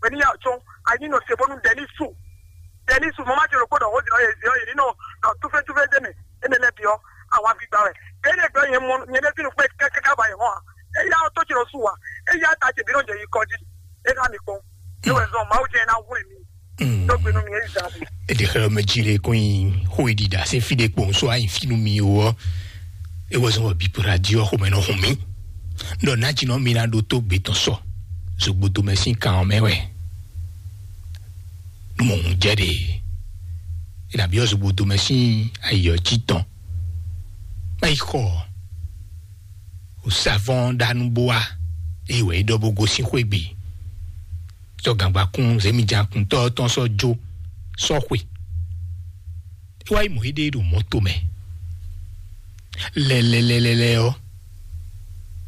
Hwɛ ní yá ò tsɔ́n. Anyi nɔ se bónú Dɛnísu. Dɛnísu mɔ má jẹ ɖokpó ɖɔ xó din ɔ́, yě zě ɔ́, yě ní nɔ nɔ túfɛ́túfɛ́ dé mɛ. Énɛ́ lɛ́ɛ bǐ ɔ́, awa gbígbá wɛ. Bɛ́ énɛ́ gbɔ nyɛ mɔ nyɛ ɖésú nukpɛ́ kɛ́kɛ́ ba yě hɔn a. É yá ɔ́ tó ce nɔ su a. É yá ta ce bǐ nɔ jɛ yi kɔ jí. É ná mi kpɔ́n. É wɛ zɔn Mawu jɛ ná hwlɛ́n mi. Tó gbe nú mi é zan. Eɖe xlɛ́ mɛ jí lé kɔn nyi xó e ɖiɖa sín fí ɖé kpowun só ayi fí nú mi ó ɔ́, é wɛ zɔn wɔ bípo ɖa jí ɔ́ xomɛ nɔ hun mì. Ɖɔ nǎjínɔ mi ná ɖótó gbě tɔn sɔ zogbodo mɛ sín kan ɔ́ mɛ wɛ. Nú mɔ hun jɛ ɖe, é nǎ byɔ́ zogbodo mɛ sín ayi ɔ́ jí tɔn. Má yi xɔ ɔ, o savɔn ɖa nú bó wá, eye wɛ é ɖɔ bó gosín xwé gbe. Sɔ́ gǎngbakún zěmijǎkuntɔ́ tɔn sɔ́ jó sɔ́ xwe. É wá yi mɔ éɖée ɖo mɔ̌to mɛ. Lɛlɛlɛlɛ ɔ́,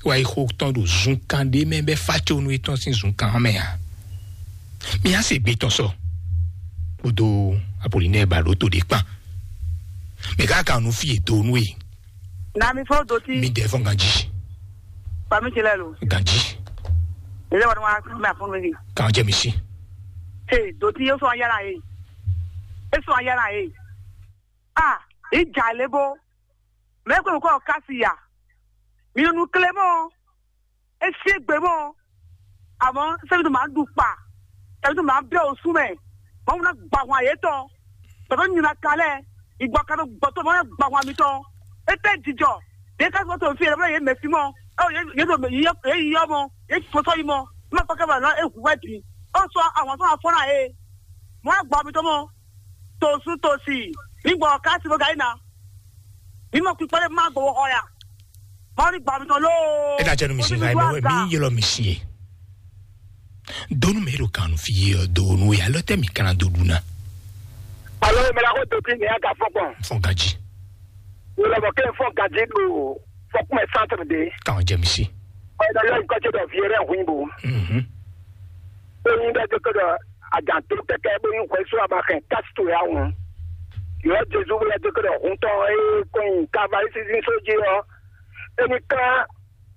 é wá yi xó tɔn ɖo zunkan ɖé mɛ bɛ́ fácónú étɔn sín zunkan ɔ́ mɛ ǎ. Mi á se gbe tɔn sɔ kpódó Apolinɛ́ɛ ba ɖó to ɖé kpán. Mɛ ká kan nú fí e do nú e. Na mi fɔ doti. Mi dɛ fɔ ganji. Fami ti lɛ lo. Ganji. Ele wa ma ma fɔ mi. Kan jɛ mi si. Hey, doti yo so ayala ye. E so ayala ye. Ah, i ja lebo. Me ko ko kasi ya. Mi nu klemo. E sie gbe mo. Àmọ́ sẹ́mi tó máa ń dùn pa, sẹ́mi tó máa ń bẹ́ òsú mẹ́, wọ́n múná gbà hàn yé tán, tọ́tọ́ nyina kalẹ̀, ìgbà kan tó gbọ́ tó máa ń gbà hàn mi tán. É tẹ́ jijɔ, yé ká sọ́tò fi ẹ̀rọ yé mẹ́sì mọ́, ẹ yé tó yé yí ọmọ, yé tó sọ́ yí mọ́, má pàkẹ́ bàlá é hu wá bì, ó sọ àwọn tó máa fọ́nà yé, wọ́n á gbà mí tán mọ́, tòsú tòsì, nígbà ọ̀ká sí mo gà yín ná, mímọ́ pípọ́ lé má gbowó ọ̀yà, mọ́ ní gbà mí tán lóò. Ẹ ká jẹ́ nu mi sí, mi yẹlɔ mi sí ye. Donu mɛ ɖo kan fi ye ɔ donu ya lɔ tɛ mi kana do ɖu na. Alo mɛ la ko to ti nìyà ka fɔ kpɔn. Fɔ gaji. Wòle mɔ kɛ fɔ gaji do fɔkun mɛ centre de. Kan jɛ mi si. Ɔ yɛ lɔ nkɔ tse dɔ viɛ rɛ hu bo. Mhm. O yin dɔ dɔ ajan to kɛkɛ bo yin hwɛ so aba kɛ kasi to ya ŋu. Yɔ Jesu wòle dɔ dɔ hun tɔ e kɔn yin kavali sisi so ji ɔ. Eni kan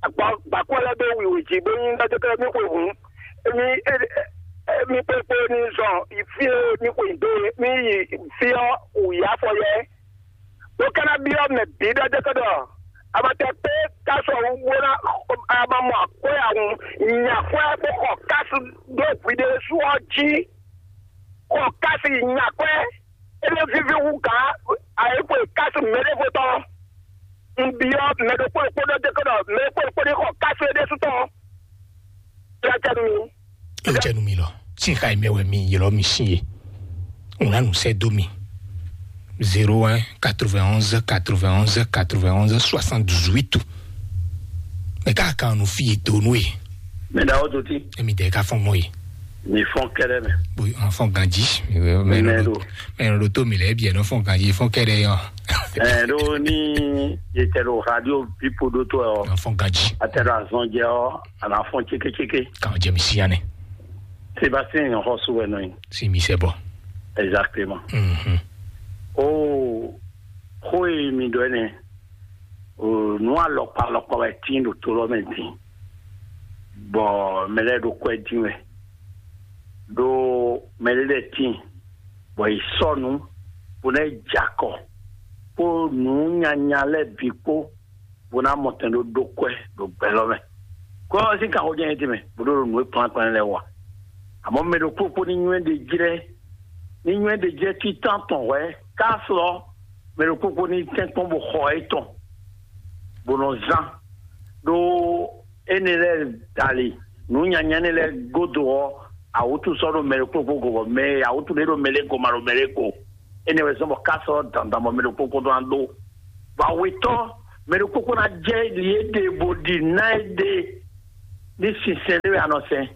Agba gbakɔ lɛ ɖo wiwi jí bó nyí ɖɔ mí xwe hǔn. Mí mí kpékpé ní zɔn fí e mí xwe dó mí yi fí ɔ́ wǔ yi afɔ yɛ. Bó ka ná byɔ́ mɛ bǐ ɖɔ dé kɔ ɖɔ abatɛ kpé kásɔ wú bó ná a ma mɔ akwɛ́ a hun nya akwɛ́ bó xɔ kásu ɖó hwi ɖé sú ɔ́ jí. Xɔ kásu yi nya akwɛ́. Ebe vivi wu gǎn ayǐkwe kásu mɛɖevo tɔn. Un byɔ́ mɛ ɖokpó ɖokpó ɖɔ dé kɔ ɖɔ mɛ ɖokpó ɖokpó ní xɔ kásu é ɖésú tɔn. Yá jɛ nú mi. Yá jɛ nú mi lɔ. Sin xa yi mɛ wɛ mi ylɔ mi sin ye. Un ná nu sɛ dó mi. Zéro un quatre-vingt-onze quatre-vingt-onze quatre-vingt-onze soixante-dix-huit. Mɛ ká kan nu fi ye dó nú ye. Mɛ ɖa ó dó tí. Emi dɛ ká fɔn mɔ ye. Mi fɔn kɛɖɛ mɛ. Bo an fɔn ganji. Mɛ Mɛ ɖo ɖo. Mɛ ɖo to mi lɛ bi ɛnɔ fɔn ganji fɔn kɛɖɛ yɔ. Ɛ ɖo ní yetɛ ɖo radio pipo ɖo to ɛ ɔ. An fɔn ganji. Atɛ ɖo azɔn jɛ ɔ ana fɔn cékécéké. Kan jɛ mi si yanɛ. Sébastien yàn xɔ so wɛ nɔ yin. Si mi sɛ bɔ. Exactement. Mhm. O xó e mi ɖɔ ɛnɛ. O nu alɔkpa alɔkpa wɛ tin ɖo to lɔ mɛ din. Bɔ mɛ lɛ ɖo kwɛ din wɛ. Ɖo mɛ lɛ lɛ tin. Bɔ yi sɔ nu. Bo nɛ jakɔ. Kpo nu nyanya lɛ bi kpo. Bo ná mɔ tɛn ɖó ɖó kwɛ ɖo gbɛ lɔ mɛ. Kó ɔ́ sín kanxó jɛ́n é tɛnmɛ bó ɖó ɖo nǔ e kplán kplán lɛ́ɛ wa. Àmọ́ mɛ ɖokpó kpó ní nywɛ́ ɖe jlɛ́ ní nywɛ́ ɖe jlɛ́ títán tɔn hwɛ̌ ká slɔ́ mɛ ɖokpó kpó ní tɛ́nkpɔ́n bó xɔ étɔn bó nɔ zán ɖó énɛ́ lɛ́ɛ dali nǔ nyanya énɛ́ lɛ́ɛ gúdo ɔ́, awǔtu sɔ́ ɖo mɛ ɖokpó kpó go bɔ mɛ awǔtu ɖé ɖo mɛ lɛ́ɛ go ma ɖo mɛ lɛ́ɛ go. Énɛ́ wɛ zɔ́n bɔ ká sɔ́ dandan bɔ mɛ ɖokpó kpó ɖó ná ɖó. Bɔ awetɔ́ Mɛ ɖokpó kpó ná jɛ li e ɖe bo ɖi ná e ɖe ní sinsɛn ɖé wɛ a nɔ sɛn.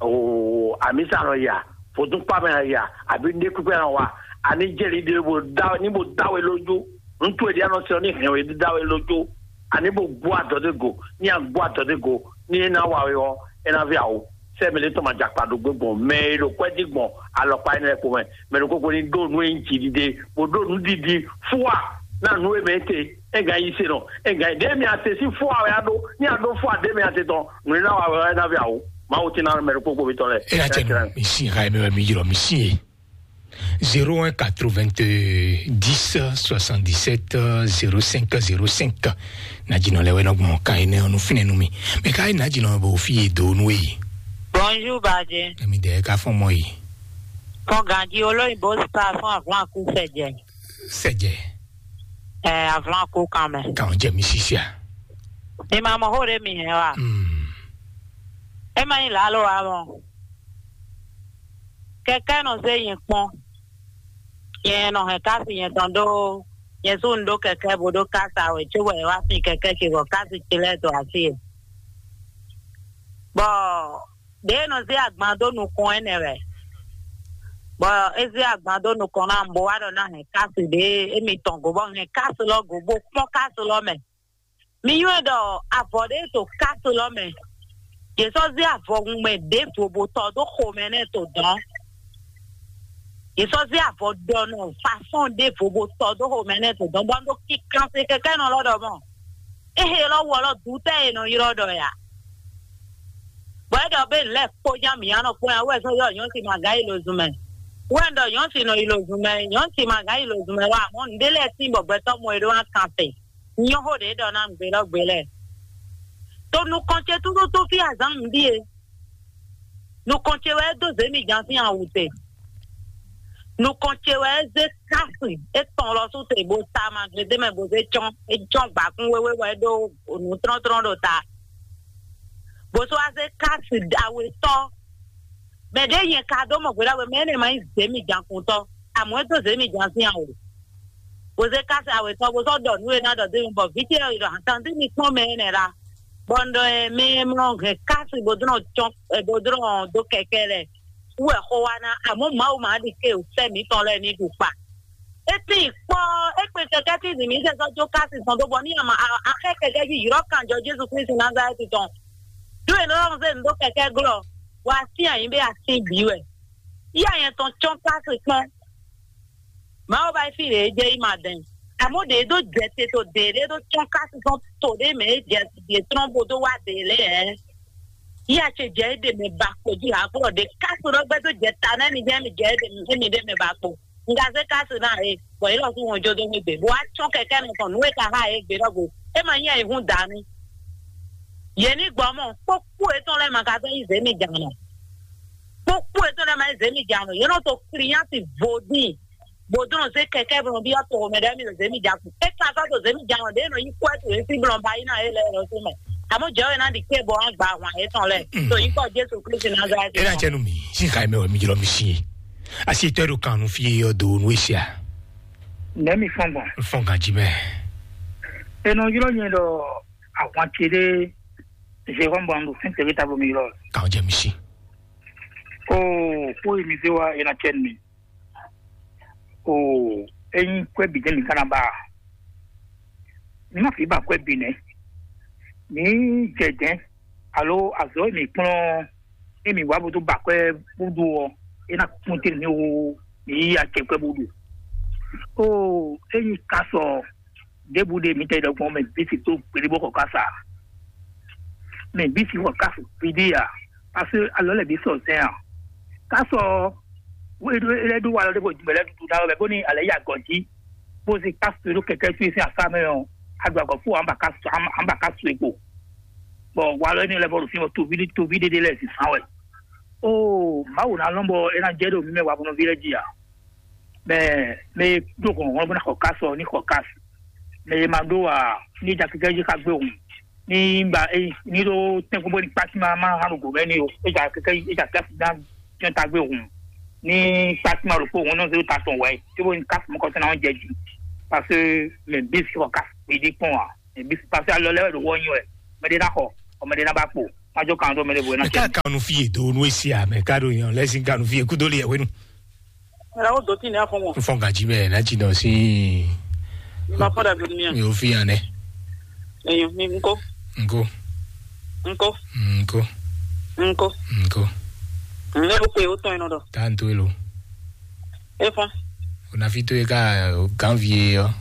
Oo, amisa nɔ ya, vodúnkpá mɛ nɔ ya, àbí ndé kpíkpé nɔ wa. Àní jɛ li ɖe bo dá ní bo dá we lójú. Ŋutsu e ɖi anɔ sɛn ní hɛn we dá we lójú. Àní bo gbó adɔ dé go, ní a gbó adɔ dé go, ní é ná wa we ɔ́, é ná vɛ awo. Sɛ mɛ lɛ tɔn ma dza kpa ɖo gbé gbɔn mɛ e ɖo kwɛ́ dí gbɔn alɔkpa énɛ́ lɛ́ɛ kpo mɛ. Mɛ ɖokpó kpó ní ɖó nú e nyí jǐɖiɖe, bó ɖó nǔɖiɖi fúwa ná nǔ e mɛ é te. É gán yi se nɔ, é gán yi ɖě mi ate sín fúwa wɛ á ɖó. Ní a ɖó fúwa ɖě mi ate tɔn, nǔ e ná wa wɛ ɔ́, é ná vɛ awo. Mawu tɛ́ ná mɛ ɖokpó kpó mitɔn lɛ́ɛ. É ná cɛ nú mi sín ha e mɛ wɛ mi ylɔ́ mi sín e. Zéro un quatre-vingt-dix soixante-dix-sept zéro cinq zéro cinq. Nǎjínɔ lɛ́ɛ wɛ nɔ gbɔn kan énɛ́ ɔ́ nú fínɛ́ nú mì. Mɛ ka nyí nǎjínɔ bɔ fí e dó nú e? Bonjour, Badje. Èmi dɛ ka fɔn mɔ yi. Fɔn ganji olóyìnbó spa fún avlan kú sɛjɛ. Sɛjɛ. Ɛ, avlan kú kan mɛ. Kan jɛ mi sisia. Mi ma mɔ xó ɖé mi hɛn wa. Hmm. E ma nyí lǎlo wa mɔ. Kɛkɛ nɔ zé nyɛ kpɔn. Nyɛ nɔ hɛn kási nyɛ tɔn ɖó nyɛ sú un ɖó kɛkɛ bó ɖó kása wɛ cóbɔ è wá fin kɛkɛ ce bɔ kási ce lɛ́ɛ dó así e. Bɔ ɖě e nɔ zé agban dó nukɔn énɛ́ wɛ, bɔ é zé agban dó nukɔn ná bó wá ɖɔ ná hɛn kási ɖě émi tɔn go bɔ hɛn kási lɔ go bó kpɔ́n kási lɔ mɛ. Mi nywɛ́ ɖɔ avɔ ɖé to kási lɔ mɛ. Yě sɔ́ zé avɔhun mɛ ɖěvo bó tɔ dó xomɛ nɛ́ to dɔ̌n. Yě sɔ́ zé avɔ ɖɔ nɔ fasɔn ɖěvo bó tɔ dó xomɛ nɛ́ to dɔ̌n bɔ un ɖo kinkan se kɛkɛ́nɔ lɔ ɖɔ mɔ. Éhe lɔ wɔ lɔ dutɛ́ e nɔ ylɔ́ ɖɔ ya. Bɔ é ɖɔ bé lɛ́ kpó nya mǐ anɔ kpó nya wɛ sɔ́ yɔ nyɔ̌si ma gǎ yi lo zun mɛ. Wɛ un ɖɔ nyɔ̌si nɔ yi lo zun mɛ, nyɔ̌si ma gǎ yi lo zun mɛ wá amɔ̌ nǔɖé lɛ́ɛ tín bɔ gbɛtɔ́ mɔ e ɖó ná kan te. Nyɔ́ xó ɖě ɖɔ ná nǔgbé lɔ́ gbé lɛ́ɛ. To nukɔn ce tútútú fí azǎn nǔ ɖíe. Nukɔn ce wɛ é dó zě mi jan sín awǔ te. Nukɔn ce wɛ é zé kási é tɔn lɔ sú te bó ta ma gledé mɛ bó zé cɔ́n é cɔ́n gbǎkún wéwé wɛ é ɖó nǔ tlɔ́ntlɔ́n ɖo ta. Bó sɔ́ wá zé kási awetɔ́. Mɛ ɖě nyɛ ka dó mɔ gběɖá wɛ mɛ énɛ́ ma nyí zě mi jan kuntɔ́. Amɔ̌ é dó zě mi jan sín awǔ. Bó zé kási awetɔ́ bó sɔ́ ɖɔ nǔ e ná ɖɔ dó mi bɔ vǐ ce ɔ́ yi ɖɔ atandí mi kpɔ́n mɛ énɛ́ la. Bɔ un ɖɔ ɛ mɛ e mlɔ hɛn kási bó dó nɔ cɔn bó dó nɔ dó kɛkɛ lɛ wú wɛ xó wá ná amɔ̌ Mawu ma ɖi ké sɛ́ mǐtɔn lɛ́ɛ ní ɖu kpa. É tín kpɔ́ é kpe kɛkɛ́ tín zǐn mǐ sɛ sɔ́ jó kási tɔn dó bɔ ní ama axɛ́ kɛkɛ́ jí ylɔ́ kanjɔ Jezu Klísu Nazalɛ́ti tɔn. Ɖó è nɔ zé nǔ dó kɛkɛ́ glɔ́, wa sín ayǐ ɖé asín bǐ wɛ. Yí anyɛ tɔn cɔ́n kási kpɔ́n. Mawu ba fí ɖě jɛ yi ma dɛn. Àmọ́ ɖě ɖó jɛ te to ɖě ɖé ɖó cɔ́n kási tɔn to ɖé mɛ é jɛ ɖě trɔ́n bó dó wá ɖě lɛ́ɛ. Yí acɛ jɛ é ɖe mɛ ba kpo jí ha kplɔ ɖě kási ɖɔ gbɛ tó jɛ ta nɛ mi jɛ mi jɛ é ɖe mi ɖe mɛ ba kpo. Nga zé kási ná é, bɔ yě lɔ fún wọn jó dó mí gbe. Bó wá tsɔ́n kɛkɛ́ nɔ tɔn nǔ e ka xá é gbe ɖɔ go. É ma nyí ayǐhún dǎ mì. Yě ní gbɔ mɔ kpókpó etɔn lɛ́ɛ ma ka fẹ́ yí zě mi jǎn nɔ. Kpókpó etɔn lɛ́ɛ ma yí zě mi jǎn nɔ. Yě nɔ to klinyási vodín. Bó dó nɔ zé kɛkɛ́ bó nɔ byɔ́ to mɛ ɖɛ́ mi ɖo zě mi jǎn kun. É ka sɔ́ to zě mi jǎn nɔ ɖě nɔ yí kwɛ́ to yě sí blɔn ba yí ná yě lɛ́ɛ lɔ sí mɛ. Àmọ́ jẹ́ wɛ ná ɖi ké bɔ wá gba ahwan yětɔn lɛ́ɛ. To yí kɔ Jésù Kristi Nazalɛ́ti. É ná jẹ́ nú mi, sín xa mɛ wɛ mi jlɔ mi sí. Asi tɔ́ ɖo kan nú fí yɔ do nú ésia. Nɛ̌ mi fɔ́n gbɔn? Fɔn ganjí mɛ. È nɔ ylɔ́ nyɛ ɖɔ ahwan ce ɖé Jérôme bɔ un ɖo fɛ́n tɛ́gbé távo mi ylɔ́. Kàn jẹ́ mi sí. Oo, kó yi mi zé wá, è nɔ cɛ nú mi. Oo, ényí kwɛ́ bǐ jɛ́n mi ka ná ba a? Mi má fi ba kwɛ́ bǐ nɛ́. Mi jɛ dɛ̌n, alo azɔ̌ e mi kplɔ́n ɔ́, ée mi wǎ bó dó ba kwɛ́ bó ɖu ɔ́, é ná kpɔ́n te mi wú mi yí acɛ kwɛ́ bó ɖu. Oo, ényí ka sɔ ɖěbǔ ɖe mi tɛ ɖɔgbɔn mɛ bísi tó kpéɖé bó xɔ kása. Mɛ bísi xɔ kása kpéɖé a, parce que alɔ lɛ bí sɔ zɛn a. Kásɔ wéɖó é lɛ́ ɖó walɔ ɖé bɔ jǐmɛ lɛ́ ɖuɖu ná wɛ bóni alɛ yi agɔ̌ jí, bó zé kásu e ɖó kɛkɛ́ sú e sín asá mɛ ɔ́, aɖu agɔ fó amba kásu amba kásu e kpo. Bɔ walɔ énɛ́ lɛ́ vɔ ɖo fí bɔ toví toví ɖé ɖé lɛ́ɛ zǐnfán wɛ. Oo, Mawu ná lɔn bɔ é ná jɛ ɖo mí mɛ wavɔnɔví lɛ́ɛ jí ǎ. Mɛ mɛ e ɖó hlɔ̌nhlɔ́n bó ná xɔ kásu ɔ́ ní xɔ kásu. Mɛ e ma ɖó ǎ ní ja kɛkɛ́ jí xá gbé hǔn. Ní ba é ní ɖó tɛ́nkpɔ́n bó ní kpákí má má hán ɖo gǒ mɛ ní o. É ja kɛkɛ́ é ja kɛ́ ná jɔ́n tagbé hǔn. Ní kpákí má ɖokpó hǔn nɔ zé ta tɔn wɛ. Cóbó ní kásu mɔkɔ sɛ́ ná jɛ jí. Parce que mɛ bí sɔ kásu gbédé kpɔn ǎ. Ebi pase alɔ lɛ wɛ ɖo wɔ nyi wɛ. Mɛ ɖe na xɔ, ɔ mɛ ɖe na ba kpo. Ma jo kan do mɛ ɖe bo na Mɛ ka kanu fi e do nu esi a, mɛ ka ɖo yan lɛ sin kanu fi e kudo le yɛ wenu. Mɛ ɖe wo do ti ne afɔ mo. N fɔ gaji mɛ na ti dɔ si. Ma fɔ da bi mi. Mi o fi yan nɛ. Eyo mi nko. Nko. Nko. Nko. Nko. Nko. Ne ko ko e o tɔn yen nɔ dɔ. Ta n to elo. E fɔ. O na fi to e ka ganvie yɔ.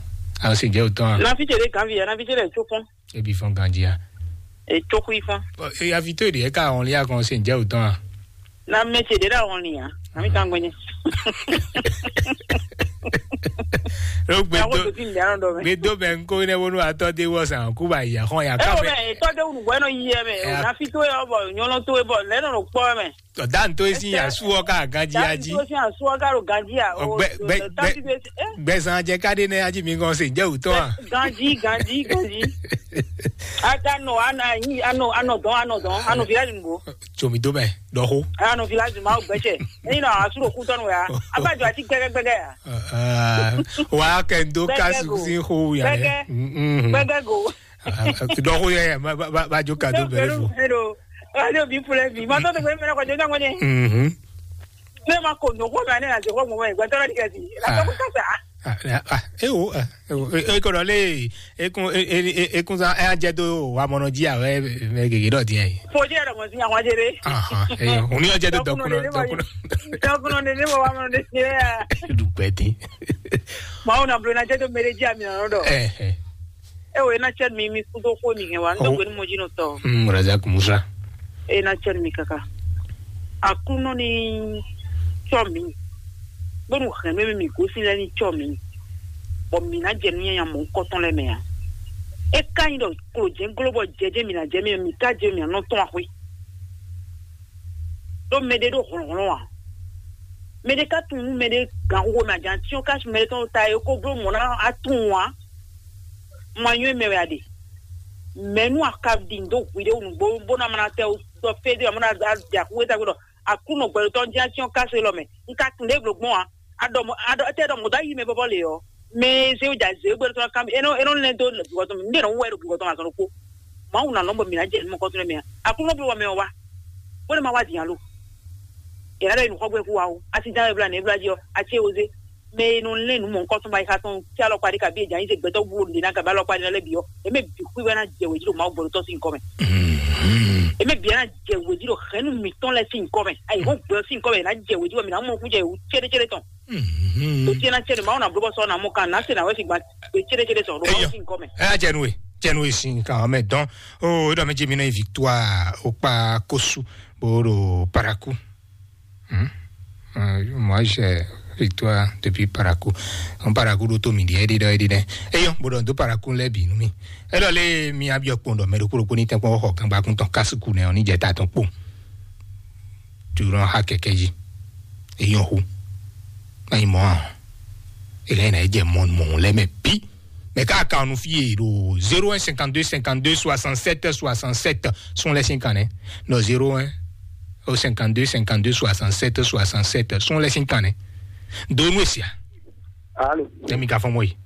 A o se jɛ o tɔn a. Na fi jɛ de ganvie, na fi jɛ de tso fɔ. Ebi fɔn ganji a. Etsó xwí fún. Ɔ, e, avi tó ɖe ká ɔn lia kɔn se njɛ o tɔn a. Na mɛ ce ɖe ɖe ɔn lia. Ami kan gbɛnyɛ. Ɖo gbe Yawo do tó ti ń dẹ́rọ̀ dɔ mɛ. Gbe do mɛ ŋkó ne wonu atɔ de wɔ san kú ba yi axɔn ya Ẹ ká wọ mɛ. Mɛ etɔ de wunu bɔ ɛnɔ yi yɛ mɛ. Ẹ, o na fi to yɛ bɔ nyɔnɔ to yɛ bɔ lɛ nɔ kpɔ mɛ. Ɔ, dan to esi ya suɔ ka ganji aji. Dan to esi ya suɔ ka ɖo ganji a. Ɔ, gbɛ gbɛ gbɛ gbɛzan jɛ ka ɖe nɛ aji mi gɔn se jɛ utɔ a. Ganji ganji ganji. Aka nɔ ana yi anɔ anɔ dɔn anɔ dɔn anɔ village nugo. Tsomi do mɛ dɔxo. Anɔ village ma o gbɛtsɛ. Eyi nɔ asu ɖo kutɔnu ya. Aba jɔ ati gbɛgɛgbɛgɛ ya. Wa kɛ n do ka Gbɛgɛ go. Susi xo ya lɛ. Gbɛgɛ. Mm, mm. Gbɛgɛ go. Dɔxo yɛ ma ba ba ba jo kado bɛrɛ fo. Hello. Hello bi pulɛ bi. Ma tɔ to gbɛ mɛ ko jo na ngone. Mhm. Ne ma ko no ko ma ne na jo ko mo me gwa tɔrɔ di kasi. La to ko sa. Ah, ah, eh, oh, ah, eh, oh, eh, eh, ko le, eh, kun, eh, eh, eh, eh, kun sa, eh, jɛ do wa mɔnɔ ji a wɛ, mɛ gege dɔ diɛ. Fo je dɔ mo si àwọn jere. Ah, ah, eh, o ni jɛ do dɔkunɔ, dɔkunɔ. Dɔkunɔ ne ne mo wa mɔnɔ de se ya. Du gbɛdi. Ma o na blo na jɛ do mere ji a mi na dɔ. Eh, eh. E o e na cɛ mi mi kudo xo mi hɛn wa n dɔgbe ni mo ji nɔ tɔ. Mm, Razak Musa. E na cɛ mi kaka. Aklúnɔ ni cɔ mi. Bónú hɛn mi mi gosi lɛ ni cɔ mi. Bɔ mi na jɛ nu nyanya mɔ kɔtɔn lɛ mɛ ya. E ka nyi dɔ klo jɛ glo bɔ jɛjɛ mi na jɛ mi mi ka jɛ mi anɔ tɔn axwe. Ɖó mɛɖé ɖó hlɔ̌nhlɔ́n ǎ. Mɛɖé ka tunwun nú mɛɖé gǎnxoxo mɛ a jǎn cyɔ́n kási mɛɖé tɔn ta é kó bló mɔ̌ ná a tunwun ǎ. Ma nywɛ́ mɛ wɛ a ɖe. Mɛ̌ nú a ka ɖi nǔ dó hwiɖée nǔgbó bó ná ma ná tɛ sɔ fé dó ǎ, bó ná ɖi axú e tagbe ɖɔ Aklúnɔ gbɛɖotɔ́ jɛ́n cyɔ́n kási élɔ́ mɛ. Un ka tunwun ɖě blǒ gbɔn ǎ. A ɖɔ mɔ̌ a ɖɔ étɛ́ ɖɔ mɔ̌ dó ayi mɛ vɔ́vɔ́ lě ɔ́, mɛ e zé wǔ jǎ zě gbɛɖotɔ́ ná ká mì. É nɔ é nɔ lɛ́ dó vǐvɔ́ tɔn mì. Nú ɖě nɔ wú wɛ ɖo vǐvɔ́ tɔn azɔn ɖokpó. Mawu ná lɔn bɔ mǐ ná jɛ nǔ mɔkɔ́tɔn mɛ ǎ. Aklúnɔ bló wɛ mɛ ɔ́ wá. Bó nɔ́ ma wá din alo. È nǎ ɖɔ è nǔ xɔ gbɛ́ kú wa ó. Asi dán wɛ blá nɛ̌ blá jí ɔ́, a cé wo zé. Mɛ e nɔ lɛ́n nǔ mɔ̌hunkɔtɔn ba yi xa tɔn cí alɔkpa ɖé kabí è jǎ nyi se gbɛtɔ́ bú ɖě ná kabí alɔkpa ɖé ná lɛ́ bǐ ɔ́, è mɛ bǐ xwí wɛ ná jɛ wě jí ɖo Mawu gbɔɖotɔ́ sín kɔ́ mɛ. È mɛ bǐ ná jɛ wě jí ɖo hɛ̌nnu mǐtɔn lɛ́ɛ sín kɔ́ mɛ. Ayi hɔn gbɛ ɔ́ sín kɔ́ mɛ è nǎ jɛ wě jí bɔ mǐ ná mɔ nukúnjɛ wǔ céɖécéɖé tɔn. Tó tiɛ ná cɛ ɖe Mawu ná bló bɔ sɔ ná mɔ kan ná se ná wɛ sín gba gbé céɖécéɖé tɔn ɖo Mawu sín kɔ́ mɛ. Ɛ jɛ nu e, jɛ nu e sin kan mɛ dɔn. O ɖɔ mɛ jɛ mi nɔ yi victoire o kpa kosu bo ɖo paraku. Hmm? Euh, moi, j'ai victoire depuis Parakou. On Parakou ɖo to mi ɖi ɛɖi ɖɔ ɛɖi ɖɛ. Eyɔ, bo ɖɔ do Parakou lɛ bi nu mi. Elɔ le mi abiɔ kpɔn ɖɔ mɛ ɖokpo ɖokpo ni tɛn kpɔn xɔ gangba kun tɔn kasuku nɛ ɔ ni jɛ ta tɔn kpo. Tu nɔ ha kɛkɛ ji. Eyɔ hu. Ayi mɔ a. Elɛ na jɛ mɔ mɔ lɛ mɛ bi. Mɛ ka kan nu fi e ɖo zéro un cinquante-deux cinquante-deux soixante-sept soixante-sept. Sɔn lɛ sin kan nɛ. Nɔ zéro un au cinquante-deux cinquante-deux soixante-sept soixante-sept. Sɔn lɛ sin kan nɛ. Do nu esia. Alo. Tɛmi ka fɔn mɔ yi.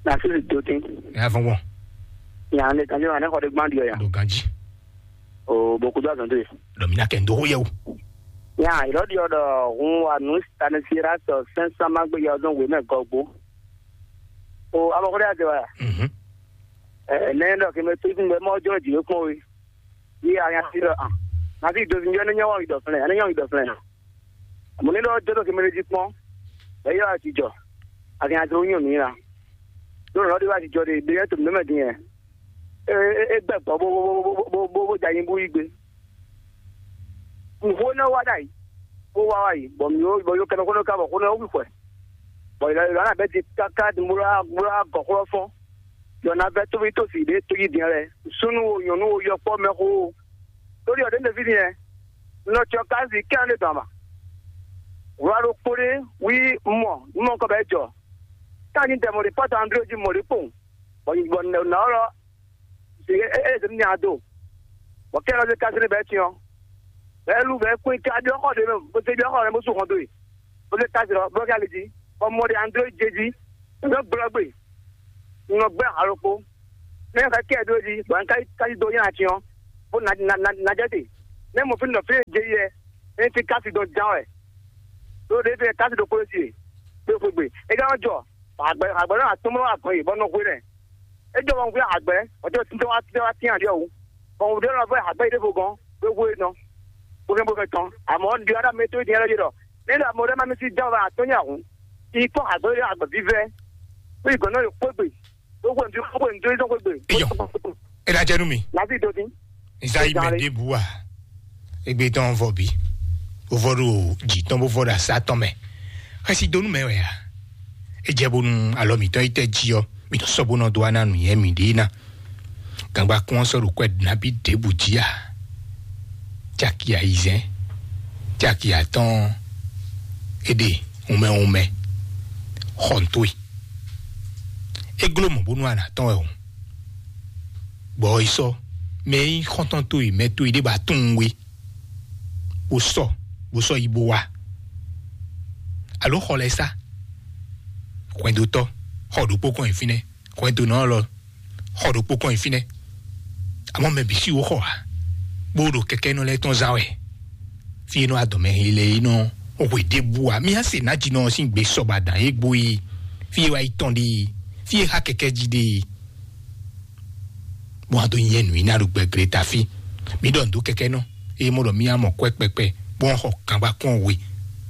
Na sisi do tin. Ya fɔn mɔ. Ya ne kan yo ane xɔ de gban di ya. Do ganji. O boku do azɔn de. Do mi na kɛ ndo ho yɛ o. Ya ilo di odo hun wa nu stanisira to sensa magbe ya zɔn we mɛ gɔgbo. O abɔkɔlɛ ade wa. Mhm. Ɛ ne dɔ ke me tu kun be mɔ jɔ di ko we. Yi a ya si dɔ an. Na si do si jɔ ne nyɔ wa yi dɔ flɛ. Ne nyɔ yi dɔ flɛ. Mo ne dɔ jɔ dɔ ke me di kpɔn. Be yɔ a ti jɔ. A ke ya dro nyɔ mi la. Do lɔ de wa ti jɔ de be yɛ to me me din yɛ. E e e gbɛ gbɔ bo bo bo bo bo bo ja yin bu yi gbe. Nǔxó énɛ́ wá ɖ'ayǐ, bó wá wá yi, bɔ mǐ bɔ yó kɛnɛxó nɔ ka bɔ xó nɔ wí xwɛ, bɔ yě lɔ yě lɔ ná bɛ́ din káká din bó lɔ́ bó lɔ́ gɔ̌ xó ɔ́ fɔ́n. Yɔ ná vɛ́ tóví tó sì ɖě tójí din lɛ́ɛ, súnnu o, nyɔ̌nu o, yɔkpɔ́ mɛxó o. Lórí ɔ̀dɛ́ ɖeví din ɛ, nɔ cɔ ká zǐ kɛ́n ɖé dɔn ama. Wlá ɖokpó ɖé wí mɔ nú mɔ kɔ bɛ́ jɔ. Ká nyí dɛ mɔ ɖě pɔ́ta André jí mɔ ɖě kpowun, bɔ nǎ ɔ́ lɔ e e e nya do. Bɔ kɛ lɔ de kasi ne bɛ tiɲɔ. Bɛ lu bɛ kún ka diɔ xɔ de mɛ, bo se diɔ xɔ de bo su hɔn do yi. Bo se kasi lɔ bɔ kɛ ali di. Bɔ mɔ de André je di. Bɛ gblɔ gbe. Nɔ gbɛ alokpo. Ne ka kɛ do di bɔ n ka ka do nya ti ɔ, bo na na na na jɛ te. Ne mo fi nɔ fi je yɛ, ne ti ka si do jan wɛ. Do de fi ka si do kolo si. Be fo gbe. E ka jɔ. Agbe agbe na atumro agbe bɔ no hwe ne. E jɔ wọn gbe agbe, o jɔ tin wa tin wa tin ali o. Bon de no fo agbe de fo gon. Be hwe no. Bo ke bo ke tɔn. Amo ndi ara me to di ara je do. Ne da mo de ma mi si jan wa to nya hu. I kɔ agbe agbe vivɛ. Ko i gɔnɔ yo kpogbe. Gbogbo ŋdi gbogbo ŋdi zɔn gbogbo. Eyɔ. Ena jɛ nú mi. Lavi do dín. Nza yi mɛ ɖěbǔ a? Egbe tɔn vɔ bí. Bó vɔ ɖo dzi tɔn bó vɔ ɖo asá tɔn mɛ. Xɛsi do nú mɛ wɛ a? E jɛ bónú alɔ mǐtɔn yi tɛ jí ɔ, mǐtɔn sɔ́ bó nɔ dó ana nǔnyɛ mǐɖée ná. Gangba kún ɔ́ sɔ́ ɖo kwɛ nabí ɖěbǔ jí a? Caki ayizɛ́n, caki atɔ́ɔ́n, é ɖe wunmɛ wunmɛ xɔntoe. É gló mɔ̌ bónú a nǎ tɔ́n wɛ hǔn, bɔ yi sɔ́ mɛ e nyí xɔ́ntɔn towe, mɛ towe ɖé ba tunwun we, bó sɔ bó sɔ́ yi bó wá. Alo xɔ lɛ́ɛ sá, hwɛndotɔ́, xɔ ɖokpó kɔn nyi fínɛ́, hwɛndonɔ lɔ, xɔ ɖokpó kɔn nyi fínɛ́. Amɔ̌ mɛ bǐ sí wó xɔ ǎ, bó ɖo kɛkɛ́nɔ lɛ́ɛ tɔn zán wɛ. Fí e nɔ adɔmɛ hele e nɔ hwe ɖěbǔ ǎ, mì á se nǎjínɔ ɔ́ sín gbe sɔba dǎn e gbo yi fí e wá yi tɔn ɖe, fí e xá kɛkɛ́ jí ɖe. Bó wá dó nyɛ nǔ i ná ɖo gbɛgblé ta fí. Mǐ ɖɔ nǔ dó kɛkɛ́nɔ, eye mɔ ɖɔ mì á mɔ kwɛ́ kpɛkpɛ, bó wá xɔ kangba kɔn we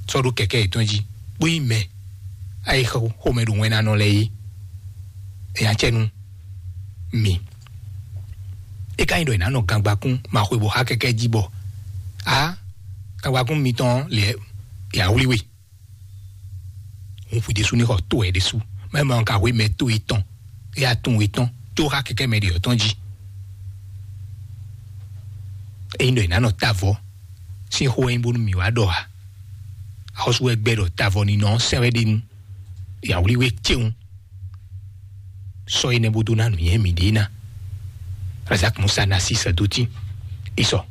sɔ́ ɖó kɛkɛ́ yětɔn jí, bó nyí mɛ ayi xomɛ ɖo wɛn ná nɔ lɛ́ɛ é. Nya cɛ nú mi. É ka nyí ɖɔ è nǎ nɔ gangbakún ma xwe bɔ xá kɛkɛ́ jí bɔ a gangbakún mitɔn lɛ ya wlí we. Hun xwi ɖésú ní xɔ tó wɛ ɖésú. Mɛ ma ka xwe mɛ tó yětɔn, é ya tún yětɔn tó xá kɛkɛ́ mɛ ɖě ɔ́ tɔn jí. Ényí ɖɔ è nǎ nɔ tavɔ sín xó wɛ nyí bónú mǐ wá ɖɔ a? Axɔ́sú wɛ gbɛ ɖɔ tavɔ ní nɔ sɛn wɛ ɖe nú yǎwlí we céwun. Sɔ énɛ́ bó dó ná nǔnywɛ́ mǐɖée ná. Razak Musa ná sí sɛdótín. Isɔ.